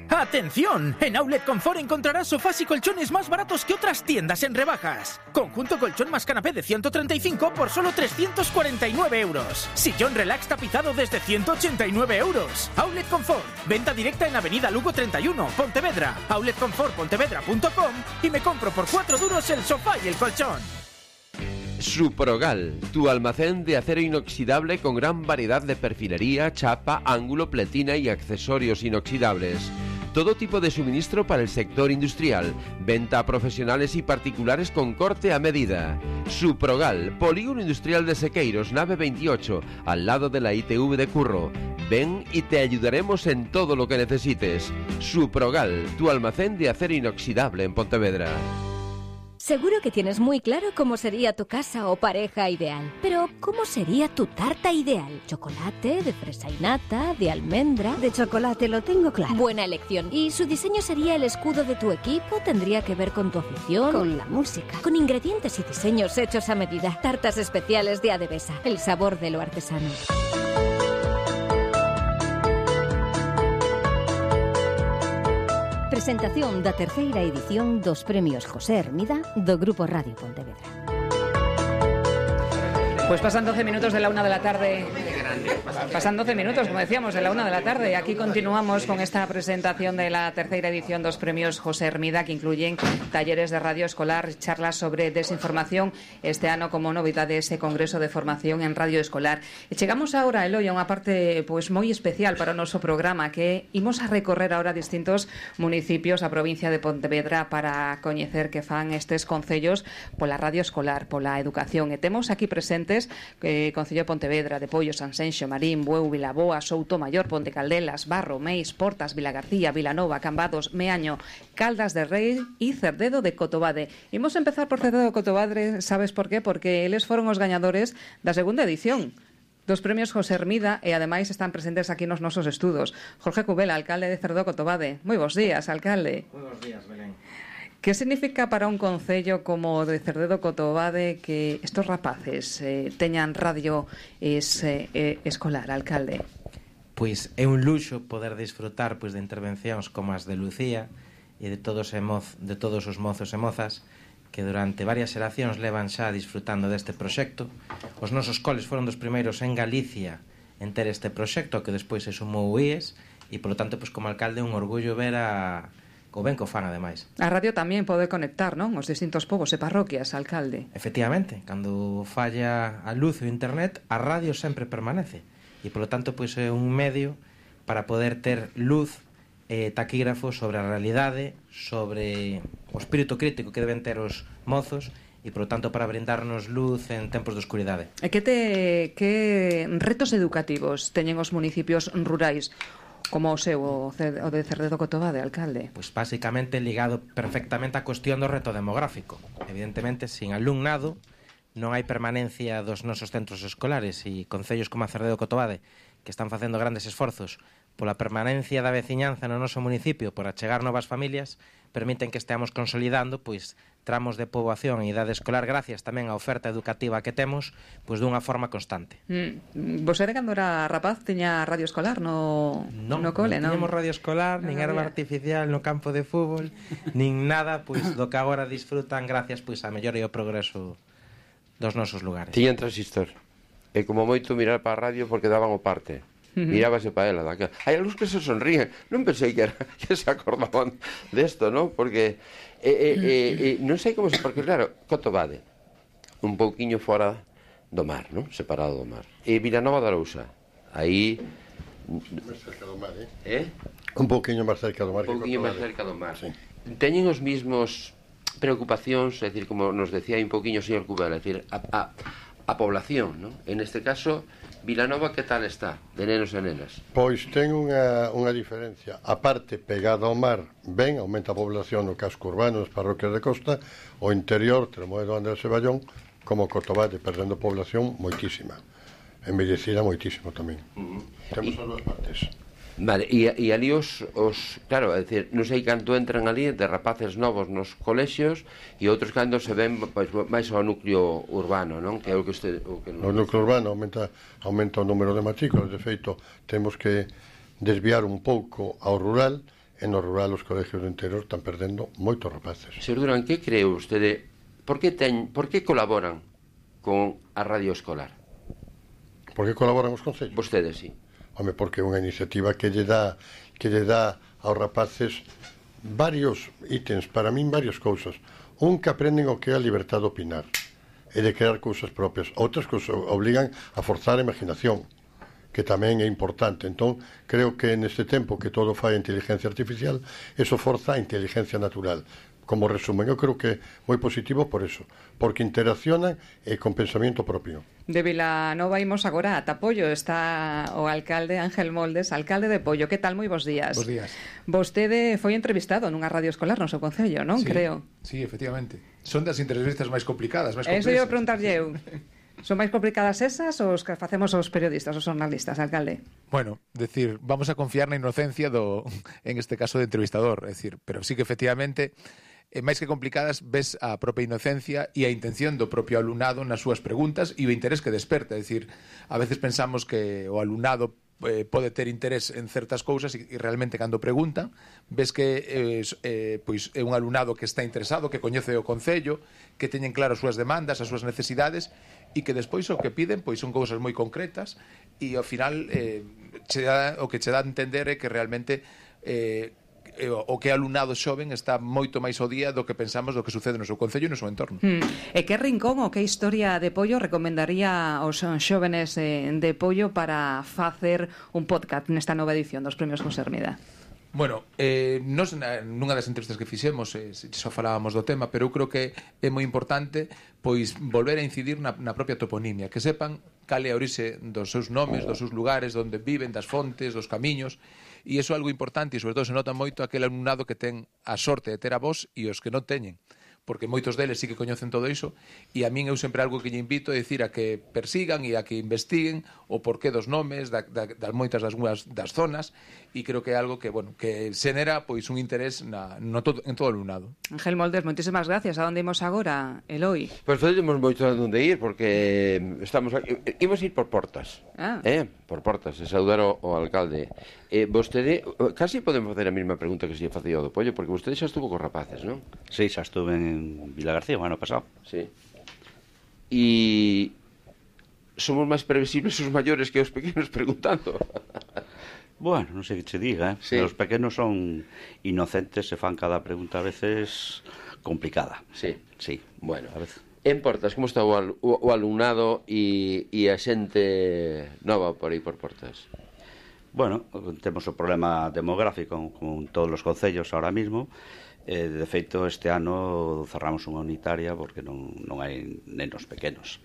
¡Atención! En Outlet Confort encontrarás sofás y colchones más baratos que otras tiendas en rebajas. Conjunto colchón más canapé de ciento treinta y cinco por solo trescientos cuarenta y nueve euros. Sillón relax tapizado desde ciento ochenta y nueve euros. Outlet Confort. Venta directa en Avenida Lugo treinta y uno, Pontevedra. outlet confort pontevedra punto com y me compro por cuatro duros el sofá y el colchón. Suprogal, tu almacén de acero inoxidable con gran variedad de perfilería, chapa, ángulo, pletina y accesorios inoxidables. Todo tipo de suministro para el sector industrial. Venta a profesionales y particulares con corte a medida. Suprogal, Polígono Industrial de Sequeiros, nave veintiocho, al lado de la I T V de Curro. Ven y te ayudaremos en todo lo que necesites. Suprogal, tu almacén de acero inoxidable en Pontevedra. Seguro que tienes muy claro cómo sería tu casa o pareja ideal. Pero, ¿cómo sería tu tarta ideal? ¿Chocolate, de fresa y nata, de almendra? De chocolate, lo tengo claro. Buena elección. ¿Y su diseño sería el escudo de tu equipo? ¿Tendría que ver con tu afición? Con la música. Con ingredientes y diseños hechos a medida. Tartas especiales de Adebesa. El sabor de lo artesano. Presentación da terceira edición dos premios José Hermida do Grupo Radio Pontevedra. Pues pasan doce minutos de la una de la tarde. Pasan doce minutos, como decíamos, de la una de la tarde. Aquí continuamos con esta presentación de la tercera edición dos premios José Hermida, que incluyen talleres de radio escolar, charlas sobre desinformación. Este ano, como novidade, ese congreso de formación en radio escolar. E chegamos ahora, Eloi, a unha parte pois moi especial para o noso programa, que imos a recorrer ahora distintos municipios a provincia de Pontevedra para coñecer que fan estes concellos pola radio escolar, pola educación. E temos aquí presentes eh, Concello de Pontevedra, de Pollo, Sanxenxo, Marín, Bueu, Vilaboa, Souto Maior, Ponte Caldelas, Barro, Meis, Portas, Vilagarcía, Vilanova, Cambados, Meaño, Caldas de Rei e Cerdedo de Cotobade. Imos empezar por Cerdedo de Cotobade, sabes por qué? Porque eles foron os gañadores da segunda edición dos premios José Hermida e ademais están presentes aquí nos nosos estudos. Jorge Cubela, alcalde de Cerdedo de Cotobade. Moi bons días, alcalde. Moi bons días, Belén. ¿Qué significa para un concello como de Cerdedo Cotobade que estos rapaces eh, teñan radio es, eh, eh, escolar, alcalde? Pois é un luxo poder disfrutar pois de intervencións como as de Lucía e de todos, e moz, de todos os mozos e mozas que durante varias xeracións levan xa disfrutando deste proxecto. Os nosos coles foron dos primeiros en Galicia en ter este proxecto, que despois se sumou o I E S, e polo tanto, pois, como alcalde, é un orgullo ver a o ben co fan, ademais. A radio tamén pode conectar, non? Os distintos povos e parroquias, alcalde. Efectivamente, cando falla a luz e o internet, a radio sempre permanece. E, polo tanto, pois é un medio para poder ter luz e taquígrafos sobre a realidade, sobre o espírito crítico que deben ter os mozos e, por lo tanto, para brindarnos luz en tempos de oscuridade. E que, te, que retos educativos teñen os municipios rurais como o seu, o de Cerdedo Cotobade, alcalde? Pois basicamente ligado perfectamente á cuestión do reto demográfico. Evidentemente, sin alumnado non hai permanencia dos nosos centros escolares, e concellos como a Cerdedo Cotobade, que están facendo grandes esforzos pola permanencia da veciñanza no noso municipio, por achegar novas familias, permiten que esteamos consolidando pois tramos de poboación e idade escolar gracias tamén á oferta educativa que temos pois dunha forma constante. Mm. Vosede cando era rapaz tiña radio escolar no, no, no cole, non? Non tiñamos radio escolar, nin erva artificial no campo de fútbol, nin nada pois do que agora disfrutan gracias pois á mellora e ao progreso dos nosos lugares. Tiñan transistor. E como moito mirar para a radio porque daban o parte. Mirábase para ela. Hai algúns que se sonríen. Non pensei que, era, que se acordaban desto, non? Porque eh, eh, eh, non sei como se... Porque, claro, Cotobade, un pouquiño fora do mar, non? Separado do mar. E Vilanova de Arousa, aí... Máis cerca do mar, eh? Eh? Un pouquiño máis cerca do mar. Un pouquiño máis cerca do mar. Sí. Teñen os mismos preocupacións, é dicir, como nos decía un pouquiño o señor Cubela, é dicir, a, a, a población, non? En este caso... Vilanova, que tal está, de nenos e nenas? Pois ten unha, unha diferencia. A parte pegada ao mar, ben, aumenta a población no casco urbano, nas parroquias de costa, o interior, Tremoedo, Andrés e Ballón, como Cotobade, perdendo población moitísima. Envellecida moitísimo tamén. Uh -huh. Temos as dúas partes. Vale, e, e ali os, os... Claro, é dicir, non sei canto entran ali de rapaces novos nos colexios e outros cando se ven pois, máis ao núcleo urbano, non? Que é o que este... O, que no núcleo urbano aumenta, aumenta o número de matrículas. De feito, temos que desviar un pouco ao rural, e no rural os colegios do interior están perdendo moitos rapaces. Señor Durán, que cree vostede? Por que, ten, por que colaboran con a radio escolar? Por que colaboran os concellos? Vostedes, sí. Home, porque é unha iniciativa que lle dá que lle dá aos rapaces varios ítems, para min varias cousas. Un, que aprenden o que é a libertad de opinar e de crear cousas propias. Outras que os obligan a forzar a imaginación, que tamén é importante. Entón, creo que neste tempo que todo fai a inteligencia artificial, eso forza a inteligencia natural. Como resumen, eu creo que é moi positivo por eso, porque interaccionan e con pensamento propio. De Vilanova imos agora a Tapollo. Está o alcalde Ángel Moldes, alcalde de Pollo. Que tal? Moi bons días. Bos días. Vostede foi entrevistado nunha radio escolar no seu concello, non? Sí, creo. Sí, efectivamente. Son das entrevistas máis complicadas, máis complexas. Eso ia preguntarlle eu. Son máis complicadas esas ou os que facemos os periodistas, os jornalistas, alcalde? Bueno, decir, vamos a confiar na inocencia do, en este caso, de entrevistador. É dicir, pero sí que efectivamente... E máis que complicadas, ves a propia inocencia e a intención do propio alumnado nas súas preguntas e o interés que desperta. É dicir, a veces pensamos que o alumnado eh, pode ter interés en certas cousas e, e realmente cando pregunta ves que eh, eh, pois é un alumnado que está interesado, que coñece o concello, que teñen claro as súas demandas, as súas necesidades e que despois o que piden pois son cousas moi concretas e ao final eh, che dá, o que che dá a entender é que realmente eh, o que alumnado xoven está moito máis ao día do que pensamos do que sucede no seu concello e no seu entorno. Mm. E que rincón ou que historia de Pollo recomendaría aos xóvenes de Pollo para facer un podcast nesta nova edición dos Premios José Hermida? Bueno, eh, nos, nunha das entrevistas que fixemos eh, só falábamos do tema, pero eu creo que é moi importante pois volver a incidir na, na propia toponimia, que sepan cal é a orixe dos seus nomes, dos seus lugares, onde viven, das fontes, dos camiños. E iso é algo importante e, sobre todo, se nota moito aquel alumnado que ten a sorte de ter a voz e os que non teñen, porque moitos deles sí que coñecen todo iso e a min eu sempre algo que lle invito é dicir a que persigan e a que investiguen o porqué dos nomes, da, da, das moitas das, das zonas e creo que é algo que, bueno, que xenera pois un interés na, no todo, en todo o alumnado. Ángel Moldes, moitísimas gracias. A onde imos agora, Eloi? Pois pues, temos moito a onde ir porque estamos aquí, imos ir por portas. Ah. Eh, por portas, e saudar o, o alcalde. Eh, vostede, casi podemos facer a mesma pregunta que se lle facía ao do Pollo, porque vostede xa estuvo cos rapaces, non? Sí, xa estuve en Vilagarcía o ano pasado. Sí. E somos máis previsibles os maiores que os pequenos preguntando. Bueno, non sei que che diga, eh? Sí. Os pequenos son inocentes e fan cada pregunta a veces complicada. Sí. Sí. Bueno, a veces. En Portas, como está o, al, o, o alumnado e, e a xente nova por aí por Portas? Bueno, temos o problema demográfico con todos os concellos ahora mismo E, de feito, este ano cerramos unha unitaria porque non, non hai nenos pequenos.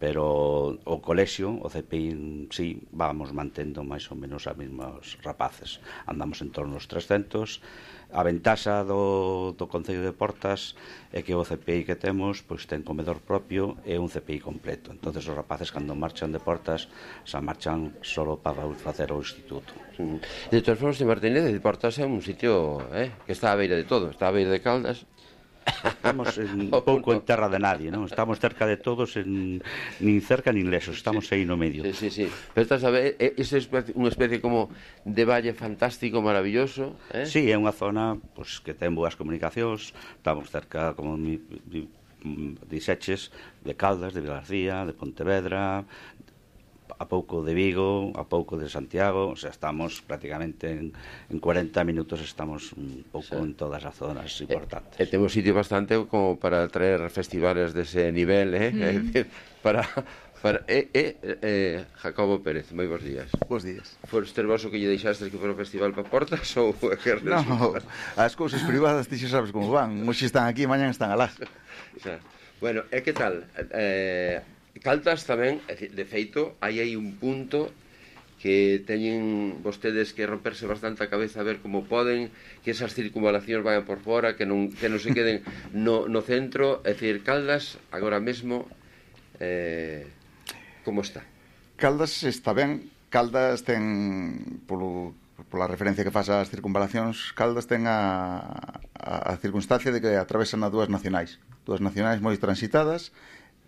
Pero o colexio, o C P I, sí, vamos mantendo máis ou menos a mesmos rapaces. Andamos en torno aos trescentos. A ventaxa do, do Concello de Portas é que o C P I que temos pois ten comedor propio e un C P I completo. Entonces os rapaces cando marchan de Portas xa marchan solo para facer o instituto. De todas formas, de Martínez de Portas é un sitio eh, que está a beira de todo. Está a beira de Caldas. Estamos en, un pouco en terra de nadie, non? Estamos cerca de todos, en, nin cerca nin lesos, estamos aí no medio. Sí, sí, sí. Pero estás a ver, é, é unha especie como de valle fantástico, maravilloso, eh? Sí, é unha zona pues, que ten boas comunicacións, estamos cerca, como mi, mi, dixeches, de Caldas, de Vilagarcía, de Pontevedra, a pouco de Vigo, a pouco de Santiago, o sea, estamos prácticamente en, en cuarenta minutos, estamos un pouco sí. en todas as zonas importantes. E, e temos sitio bastante como para traer festivales dese nivel, eh? Mm. É dicir, para... para eh, eh, eh, Jacobo Pérez, moi bons días. Bons días. Foste vos o que lle deixastes que for o festival para Portas ou que no, as cousas privadas ti xa sabes como van, hoxe están aquí, mañan están alá. O sea, bueno, e que tal? Eh... Caldas tamén, de feito, hai aí un punto que teñen vostedes que romperse bastante a cabeza a ver como poden, que esas circunvalacións vayan por fora, que non, que non se queden no, no centro. É dicir, Caldas, agora mesmo, eh, como está? Caldas está ben. Caldas ten, polo, pola referencia que faz ás circunvalacións, Caldas ten a, a, a circunstancia de que atravesan a dúas nacionais. Dúas nacionais moi transitadas,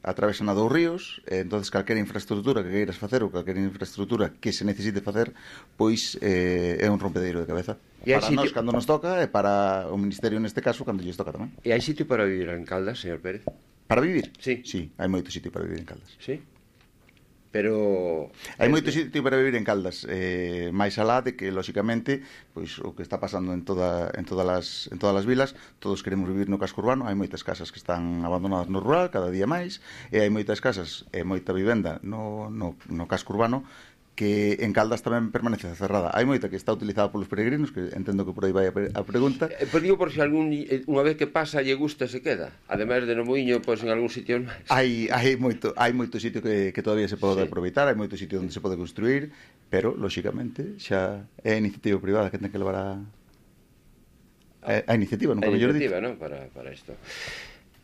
atravesan a dous ríos, e entonces calquera infraestructura que queiras facer ou calquera infraestructura que se necesite facer, pois eh, é un rompedeiro de cabeza. Para sitio... nós cando nos toca e para o Ministerio neste caso cando lles toca tamén. E hai sitio para vivir en Caldas, señor Pérez? Para vivir? Sí. Sí, hai moito sitio para vivir en Caldas. Sí? Pero... hai moito sitio para vivir en Caldas, eh, máis alá de que, lóxicamente, pois o que está pasando en toda en todas as en todas as vilas, todos queremos vivir no casco urbano, hai moitas casas que están abandonadas no rural cada día máis, e hai moitas casas e moita vivenda no, no, no casco urbano que en Caldas tamén permanece cerrada. Hai moita que está utilizada polos peregrinos, que entendo que por aí vai a pregunta. Eh, pero digo por se algún, unha vez que pasa lle gusta se queda. Ademais de no Muiño, pois en algún sitio máis. Hai hai moito, hai moito sitio que, que todavía se pode sí. aproveitar, hai moito sitio onde se pode construir, pero lóxicamente xa é a iniciativa privada que ten que levar a a, a iniciativa, non a iniciativa, non, para para isto.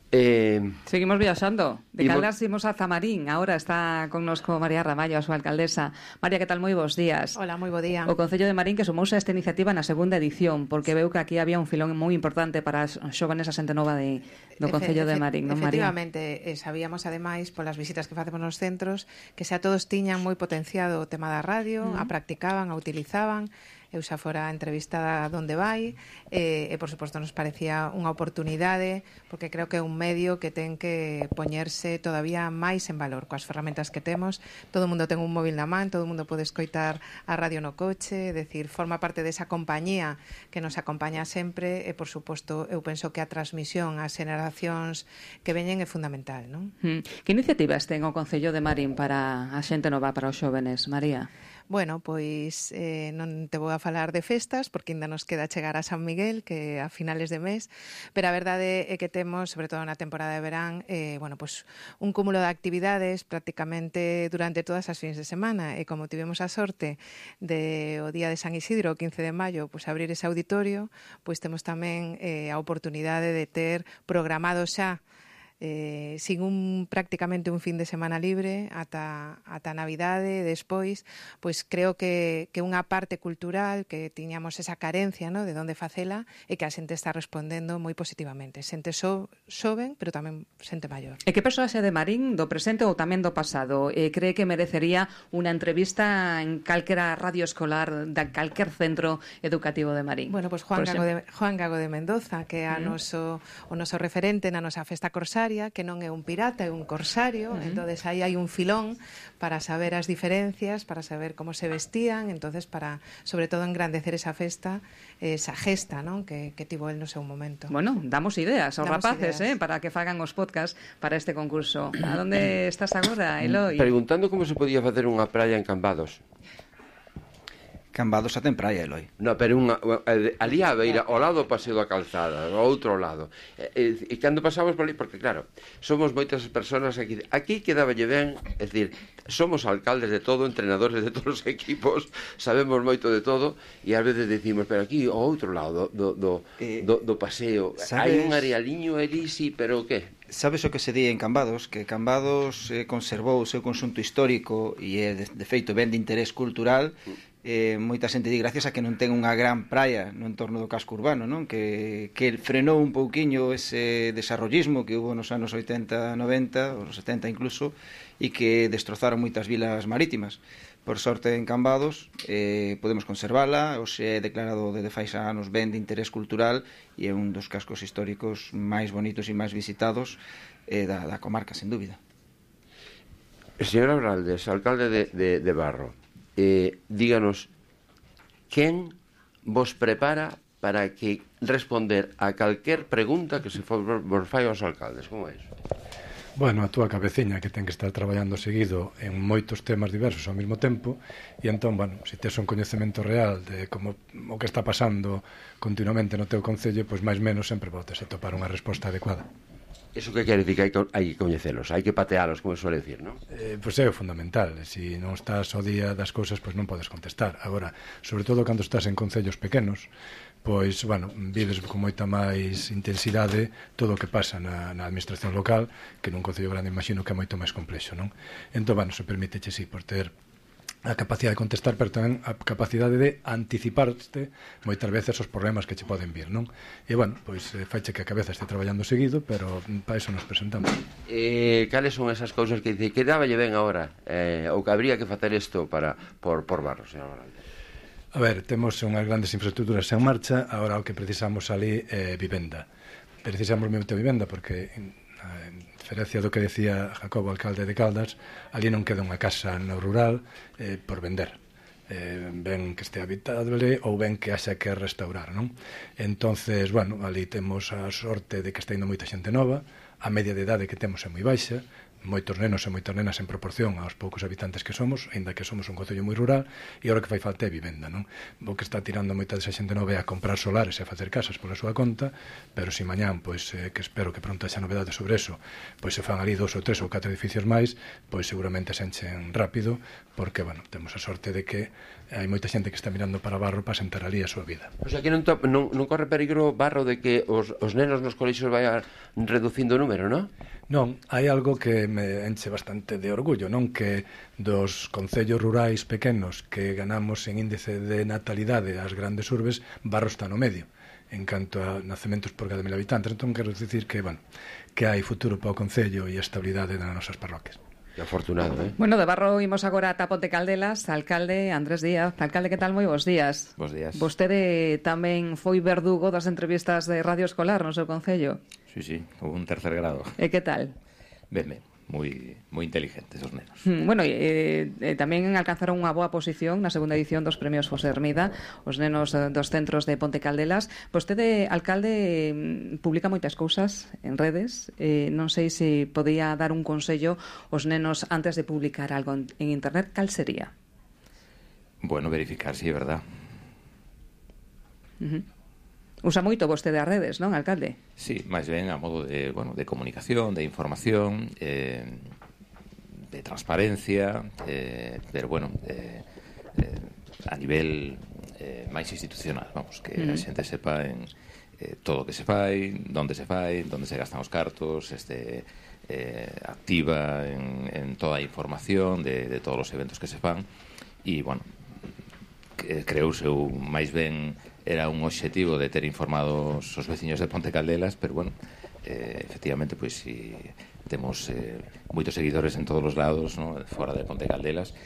Eh, Seguimos viaxando. De Caldas imos a Zamarín. Ahora está connosco María Ramallo, a súa alcaldesa. María, que tal? Moi bons días. Hola, moi bo día. O Concello de Marín que sumouse a esta iniciativa na segunda edición, porque veu que aquí había un filón moi importante para os xóvenes a xente nova de, do Concello de Marín, non, María? Efectivamente, eh, sabíamos ademais polas visitas que facemos nos centros que xa todos tiñan moi potenciado o tema da radio, uh -huh. a practicaban, a utilizaban. Eu xa fora entrevistada donde vai e, e por suposto nos parecía unha oportunidade porque creo que é un medio que ten que poñerse todavía máis en valor coas ferramentas que temos. Todo o mundo ten un móvil na man, todo o mundo pode escoitar a radio no coche, é dicir, forma parte desa compañía que nos acompaña sempre e por suposto eu penso que a transmisión ás generacións que veñen é fundamental, non? Hmm. Que iniciativas ten o Concello de Marín para a xente nova, para os xóvenes, María? Bueno, pois eh, non te vou a falar de festas porque ainda nos queda chegar a San Miguel, que a finales de mes, pero a verdade é que temos, sobre todo na temporada de verán, eh, bueno, pois un cúmulo de actividades prácticamente durante todas as fins de semana, e como tivemos a sorte de o día de San Isidro, o quince de maio, pois abrir ese auditorio, pois temos tamén eh, a oportunidade de ter programado xa Eh, sin un prácticamente un fin de semana libre ata, ata Navidade, despois pois creo que, que unha parte cultural que tiñamos esa carencia, ¿no?, de onde facela e que a xente está respondendo moi positivamente, xente so, xoven pero tamén xente maior. E que persoaxe de Marín do presente ou tamén do pasado eh, cree que merecería unha entrevista en calquera radio escolar de calquer centro educativo de Marín? Bueno, pois Juan Gago de, Juan Gago de Mendoza, que é a uh -huh. noso, o noso referente na nosa festa corsaria, que non é un pirata, é un corsario. Uh-huh. Entonces aí hai un filón para saber as diferencias, para saber como se vestían, entonces para, sobre todo, engrandecer esa festa, esa gesta, non, que, que tivo el no seu momento. Bueno, damos ideas aos damos rapaces, ideas. Eh, para que fagan os podcast para este concurso. A donde estás agora, Eloi? Preguntando como se podía facer unha praia en Cambados. Cambados xa ten praia, Eloi. No, pero unha, ali á beira, ao lado do Paseo da Calzada, ao outro lado. E, e, e cando pasamos por ali, porque claro, somos moitas persoas aquí. Aquí quedaballe ben, é dicir, somos alcaldes de todo, entrenadores de todos os equipos, sabemos moito de todo, e ás veces decimos, pero aquí, ao outro lado do, do, eh, do, do paseo, hai un arealiño ali, sí, pero o que? Sabes o que se di en Cambados? Que Cambados eh, conservou o seu conxunto histórico e é, de, de feito, ben de interés cultural. Eh, moita xente di gracias a que non ten unha gran praia no entorno do casco urbano, non? Que, que frenou un pouquiño ese desarrollismo que hubo nos anos oitenta, noventa, ou nos setenta incluso, e que destrozaron moitas vilas marítimas. Por sorte, en Cambados eh, podemos conservala, hoxe é declarado desde fai xa anos ben de interés cultural e é un dos cascos históricos máis bonitos e máis visitados eh, da, da comarca, sen dúbida. Señor Abraldes, alcalde de, de, de Barro, eh, díganos, quen vos prepara para que responder a calquer pregunta que se for, vos fai aos alcaldes? Como é iso? Bueno, a túa cabeciña que ten que estar traballando seguido en moitos temas diversos ao mesmo tempo e entón, bueno, se tes un coñecemento real de como o que está pasando continuamente no teu concello, pois máis menos sempre podes atopar unha resposta adecuada. Iso que quere dicir que hai que, hai que coñecelos, hai que patealos, como suele decir, non? Eh, pois é o fundamental, se non estás ao día das cousas, pois non podes contestar. Agora, sobre todo cando estás en concellos pequenos, pois, bueno, vives con moita máis intensidade todo o que pasa na, na administración local, que nun concello grande imagino que é moito máis complexo, non? Entón, bueno, se permite, sí, por ter a capacidade de contestar, pero tamén a capacidade de anticiparte moitas veces os problemas que che poden vir, non? E, bueno, pois faiche que a cabeza este traballando seguido, pero para iso nos presentamos. Eh, cales son esas cousas que dice que dáballe ben agora, eh, ou que habría que facer isto para, por, por Barro, señor Morales? A ver, temos unhas grandes infraestructuras en marcha, agora o que precisamos ali é eh, vivenda. Precisamos moito vivenda porque, a diferencia do que decía Jacobo, alcalde de Caldas, ali non queda unha casa no rural eh, por vender. Eh, ben que este habitable ou ben que haxa que restaurar, non? Entonces, bueno, ali temos a sorte de que está indo moita xente nova, a media de idade que temos é moi baixa, moitos nenos e moitas nenas en proporción aos poucos habitantes que somos, aínda que somos un concello moi rural, e agora que fai falta é vivenda, non? O que está tirando moita desa xente nova é a comprar solares e a facer casas pola súa conta, pero se mañán, pois, eh, que espero que pronto haxa novedades sobre eso, pois se fan ali dos ou tres ou catro edificios máis, pois seguramente se enchen rápido, porque, bueno, temos a sorte de que hai moita xente que está mirando para Barro para sentar ali a súa vida. O sea, que non, to, non, non corre peligro, Barro, de que os, os nenos nos colexios vayan reducindo o número, non? Non, hai algo que me enche bastante de orgullo, non? Que dos concellos rurais pequenos que ganamos en índice de natalidade ás grandes urbes, Barro está no medio en canto a nacementos por cada mil habitantes. Entón, quero dicir que, bueno, que hai futuro para o concello e estabilidade nas nosas parroquias. Que afortunado, eh? Bueno, de Barro imos agora a Ponte Caldelas, alcalde Andrés Díaz. Alcalde, que tal? Moi bons días. Bos días. Vostede tamén foi verdugo das entrevistas de Radio Escolar no seu concello. Sí, sí, un tercer grado. E que tal? Ben, ben, moi, moi inteligentes os nenos. Hmm, bueno, eh, eh, tamén alcanzaron unha boa posición na segunda edición dos premios José Hermida, os nenos eh, dos centros de Ponte Caldelas. Vostede, alcalde, publica moitas cousas en redes. Eh, non sei se podía dar un consello aos nenos antes de publicar algo en, en internet. Cal sería? Bueno, verificar si é verdad. Uh -huh. Usa moito vostede as redes, non, alcalde? Sí, máis ben a modo de, bueno, de comunicación, de información, eh, de transparencia, eh, pero bueno, eh, eh, a nivel eh, máis institucional, vamos, que mm. a xente sepa en eh, todo o que se fai, onde se fai, onde se gastan os cartos, este, eh, activa en, en toda a información de, de todos os eventos que se fan, e, bueno, que, creouse máis ben era un obxectivo de ter informados os veciños de Ponte Caldelas, pero, bueno, eh, efectivamente, pois, si temos eh, moitos seguidores en todos os lados, ¿no?, fora de Ponte Caldelas,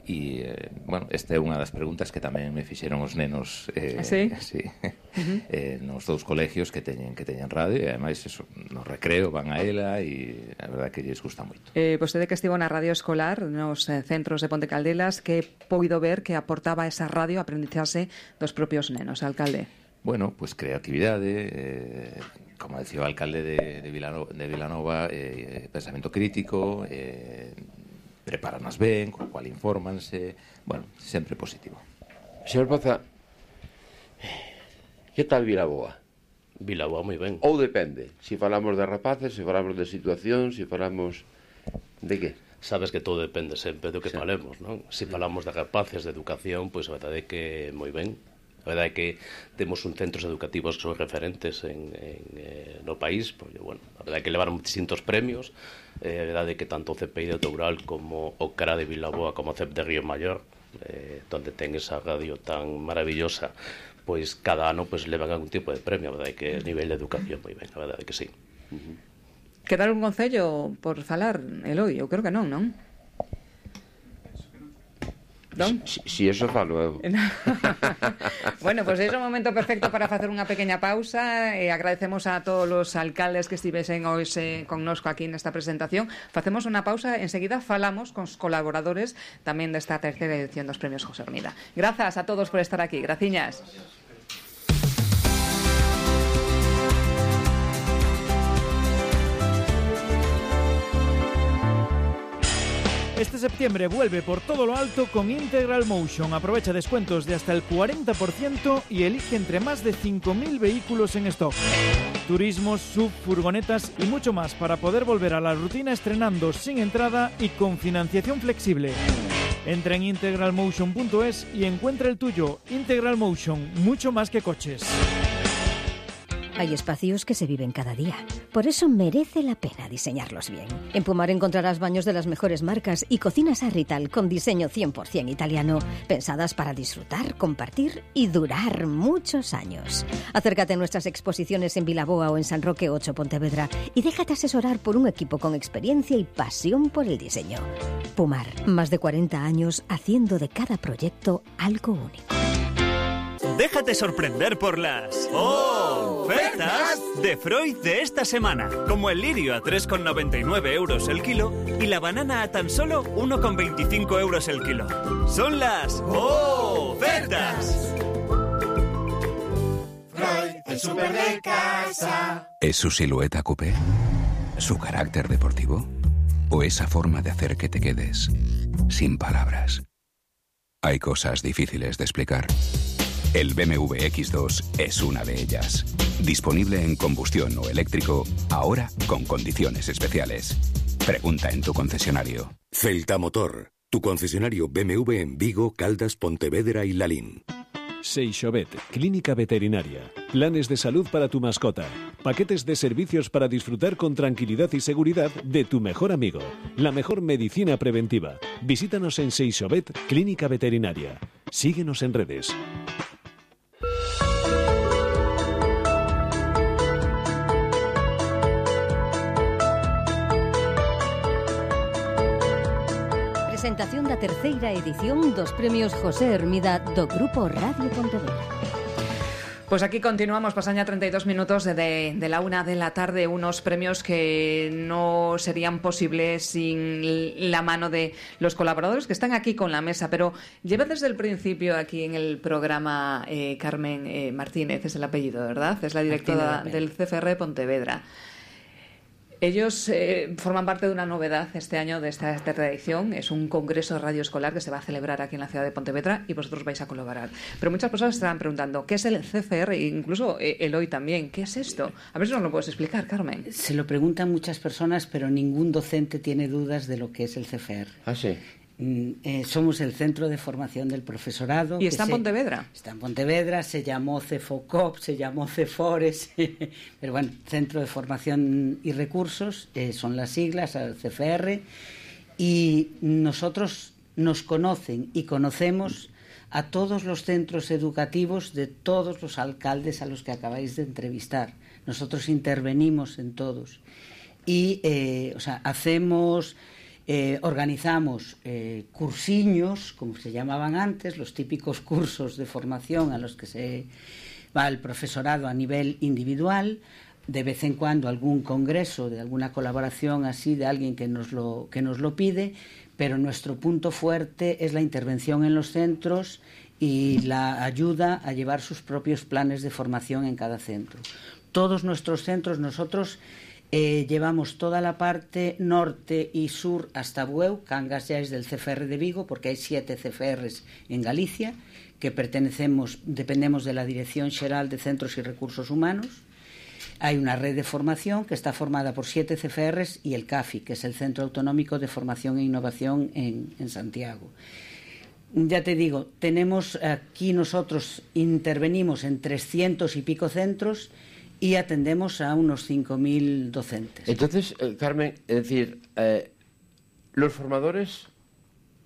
e, eh, bueno, esta é unha das preguntas que tamén me fixeron os nenos eh, ¿sí? Sí, uh-huh. eh, nos dous colegios que teñen que teñen radio, e ademais eso, no recreo van a ela, e a verdade que lles gusta moito. Eh, vostede que estivo na radio escolar nos eh, centros de Ponte Caldelas, que poido ver que aportaba esa radio a aprendizaxe dos propios nenos, alcalde? Bueno, pues creatividade, eh, como decía o alcalde de, de Vilanova, de Vilanova eh, pensamento crítico, eh, preparanas ben, co cual infórmanse, bueno, sempre positivo. Señor Poza, que tal Vilaboa? Vilaboa moi ben. Ou depende, se falamos de rapaces, se falamos de situación, se falamos de que? Sabes que todo depende sempre do que sí. falemos, non? Se falamos de rapaces, de educación, pois a verdade é que moi ben. A verdade é que temos un centros educativos que son referentes en, en, eh, no país, pois, bueno, a verdade é que levaron distintos premios, eh, a verdade é que tanto o C P I de Toural como o C R A de Vilaboa como o C E P de Río Maior, eh, donde ten esa radio tan maravillosa, pois cada ano pois levan algún tipo de premio. A verdade é que a nivel de educación moi ben, a verdade é que sí. Uh-huh. Quedar un concello por falar, Eloi? Eu creo que non, non? Non? Si, si eso falo eu. Bueno, pois pues é o momento perfecto para facer unha pequena pausa e agradecemos a todos os alcaldes que estivesen hoxe connosco aquí nesta presentación. Facemos unha pausa, enseguida falamos con os colaboradores tamén desta terceira edición dos Premios José Hermida. Grazas a todos por estar aquí. Graciñas. Este septiembre vuelve por todo lo alto con Integral Motion. Aprovecha descuentos de hasta el cuarenta por ciento y elige entre más de cinco mil vehículos en stock. Turismos, sub, furgonetas y mucho más para poder volver a la rutina estrenando sin entrada y con financiación flexible. Entra en integral motion punto es y encuentra el tuyo. Integral Motion, mucho más que coches. Hay espacios que se viven cada día. Por eso merece la pena diseñarlos bien. En Pumar encontrarás baños de las mejores marcas y cocinas Arrital con diseño cien por ciento italiano, pensadas para disfrutar, compartir y durar muchos años. Acércate a nuestras exposiciones en Vilaboa o en San Roque ocho Pontevedra y déjate asesorar por un equipo con experiencia y pasión por el diseño. Pumar, más de cuarenta años haciendo de cada proyecto algo único. Déjate sorprender por las ofertas de Freud de esta semana, como el lirio a tres con noventa y nueve euros el kilo y la banana a tan solo uno con veinticinco euros el kilo. Son las ofertas. Freud, el súper de casa. ¿Es su silueta coupé? ¿Su carácter deportivo? ¿O esa forma de hacer que te quedes sin palabras? Hay cosas difíciles de explicar. El B M W X dos es una de ellas. Disponible en combustión o eléctrico, ahora con condiciones especiales. Pregunta en tu concesionario. Celta Motor, tu concesionario B M W en Vigo, Caldas, Pontevedra y Lalín. Seixovet, clínica veterinaria. Planes de salud para tu mascota. Paquetes de servicios para disfrutar con tranquilidad y seguridad de tu mejor amigo. La mejor medicina preventiva. Visítanos en Seixovet, clínica veterinaria. Síguenos en redes. Presentación da terceira edición dos Premios José Hermida do Grupo Radio Pontevedra. Pues aquí continuamos, pasan ya treinta y dos minutos de, de, de la una de la tarde, unos premios que no serían posibles sin la mano de los colaboradores que están aquí con la mesa, pero lleva desde el principio aquí en el programa eh, Carmen eh, Martínez, es el apellido, ¿verdad? Es la directora del C F R Pontevedra. Ellos eh, forman parte de una novedad este año de esta tercera edición. Es un congreso de radio escolar que se va a celebrar aquí en la ciudad de Pontevedra y vosotros vais a colaborar. Pero muchas personas estarán preguntando, ¿qué es el C F R? E incluso eh, Eloi también, ¿qué es esto? A ver si nos lo puedes explicar, Carmen. Se lo preguntan muchas personas, pero ningún docente tiene dudas de lo que es el C F R. Ah, sí. Eh, somos el Centro de Formación del Profesorado. ¿Y está en Pontevedra? Se, está en Pontevedra, se llamó CEFOCOP, se llamó CEFORES, pero bueno, Centro de Formación y Recursos, eh, son las siglas, el C F R, y nosotros nos conocen y conocemos a todos los centros educativos de todos los alcaldes a los que acabáis de entrevistar. Nosotros intervenimos en todos y, eh, o sea, hacemos... Eh, organizamos eh, cursiños, como se llamaban antes, los típicos cursos de formación a los que se va el profesorado a nivel individual, de vez en cuando algún congreso, de alguna colaboración así de alguien que nos lo, que nos lo pide, pero nuestro punto fuerte es la intervención en los centros y la ayuda a llevar sus propios planes de formación en cada centro. Todos nuestros centros, nosotros... Eh, llevamos toda la parte norte y sur hasta Bueu. Cangas ya es del C F R de Vigo, porque hay siete C F Rs en Galicia, que pertenecemos, dependemos de la Dirección Xeral de Centros y Recursos Humanos. Hay una red de formación que está formada por siete C F Rs y el CAFI, que es el Centro Autonómico de Formación e Innovación en, en Santiago. Ya te digo, tenemos aquí nosotros, intervenimos en trescientos y pico centros y atendemos a unos cinco mil docentes. Entonces, eh, Carmen, es decir, eh, los formadores,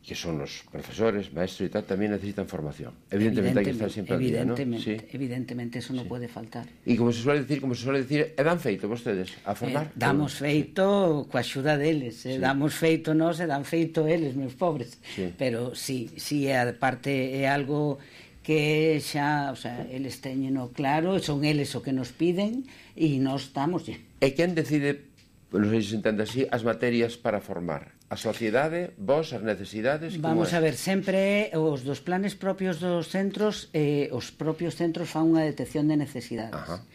que son los profesores, maestros y tal, también necesitan formación. Evidentemente, hay que estar siempre al día, ¿no? Evidentemente, Sí. evidentemente, eso no Sí. puede faltar. E como se suele decir, como se suele decir, e dan feito vostedes a formar? Eh, damos feito coa axuda deles, eh, Sí. damos feito nós e dan feito eles, meus pobres. Sí. Pero sí, sí, a parte é algo que xa, o sea, eles teñeno claro, son eles o que nos piden e nós estamos. E quen decide, non sei se se entende así, as materias para formar? A sociedade, vos, as necesidades? Vamos a ver, sempre os dos planes propios dos centros, eh, os propios centros fan unha detección de necesidades. Ajá.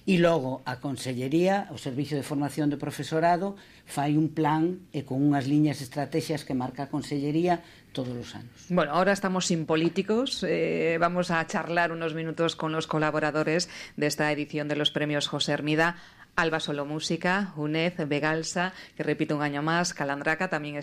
E logo a Consellería, o Servicio de Formación de Profesorado, fai un plan e con unhas liñas estrategias que marca a Consellería todos os anos. Bueno, ahora estamos sin políticos. Eh, vamos a charlar unos minutos con los colaboradores de esta edición de los premios José Hermida. Alba Solo Música, UNED, Vegalsa, que repite un año más, Calandraca también está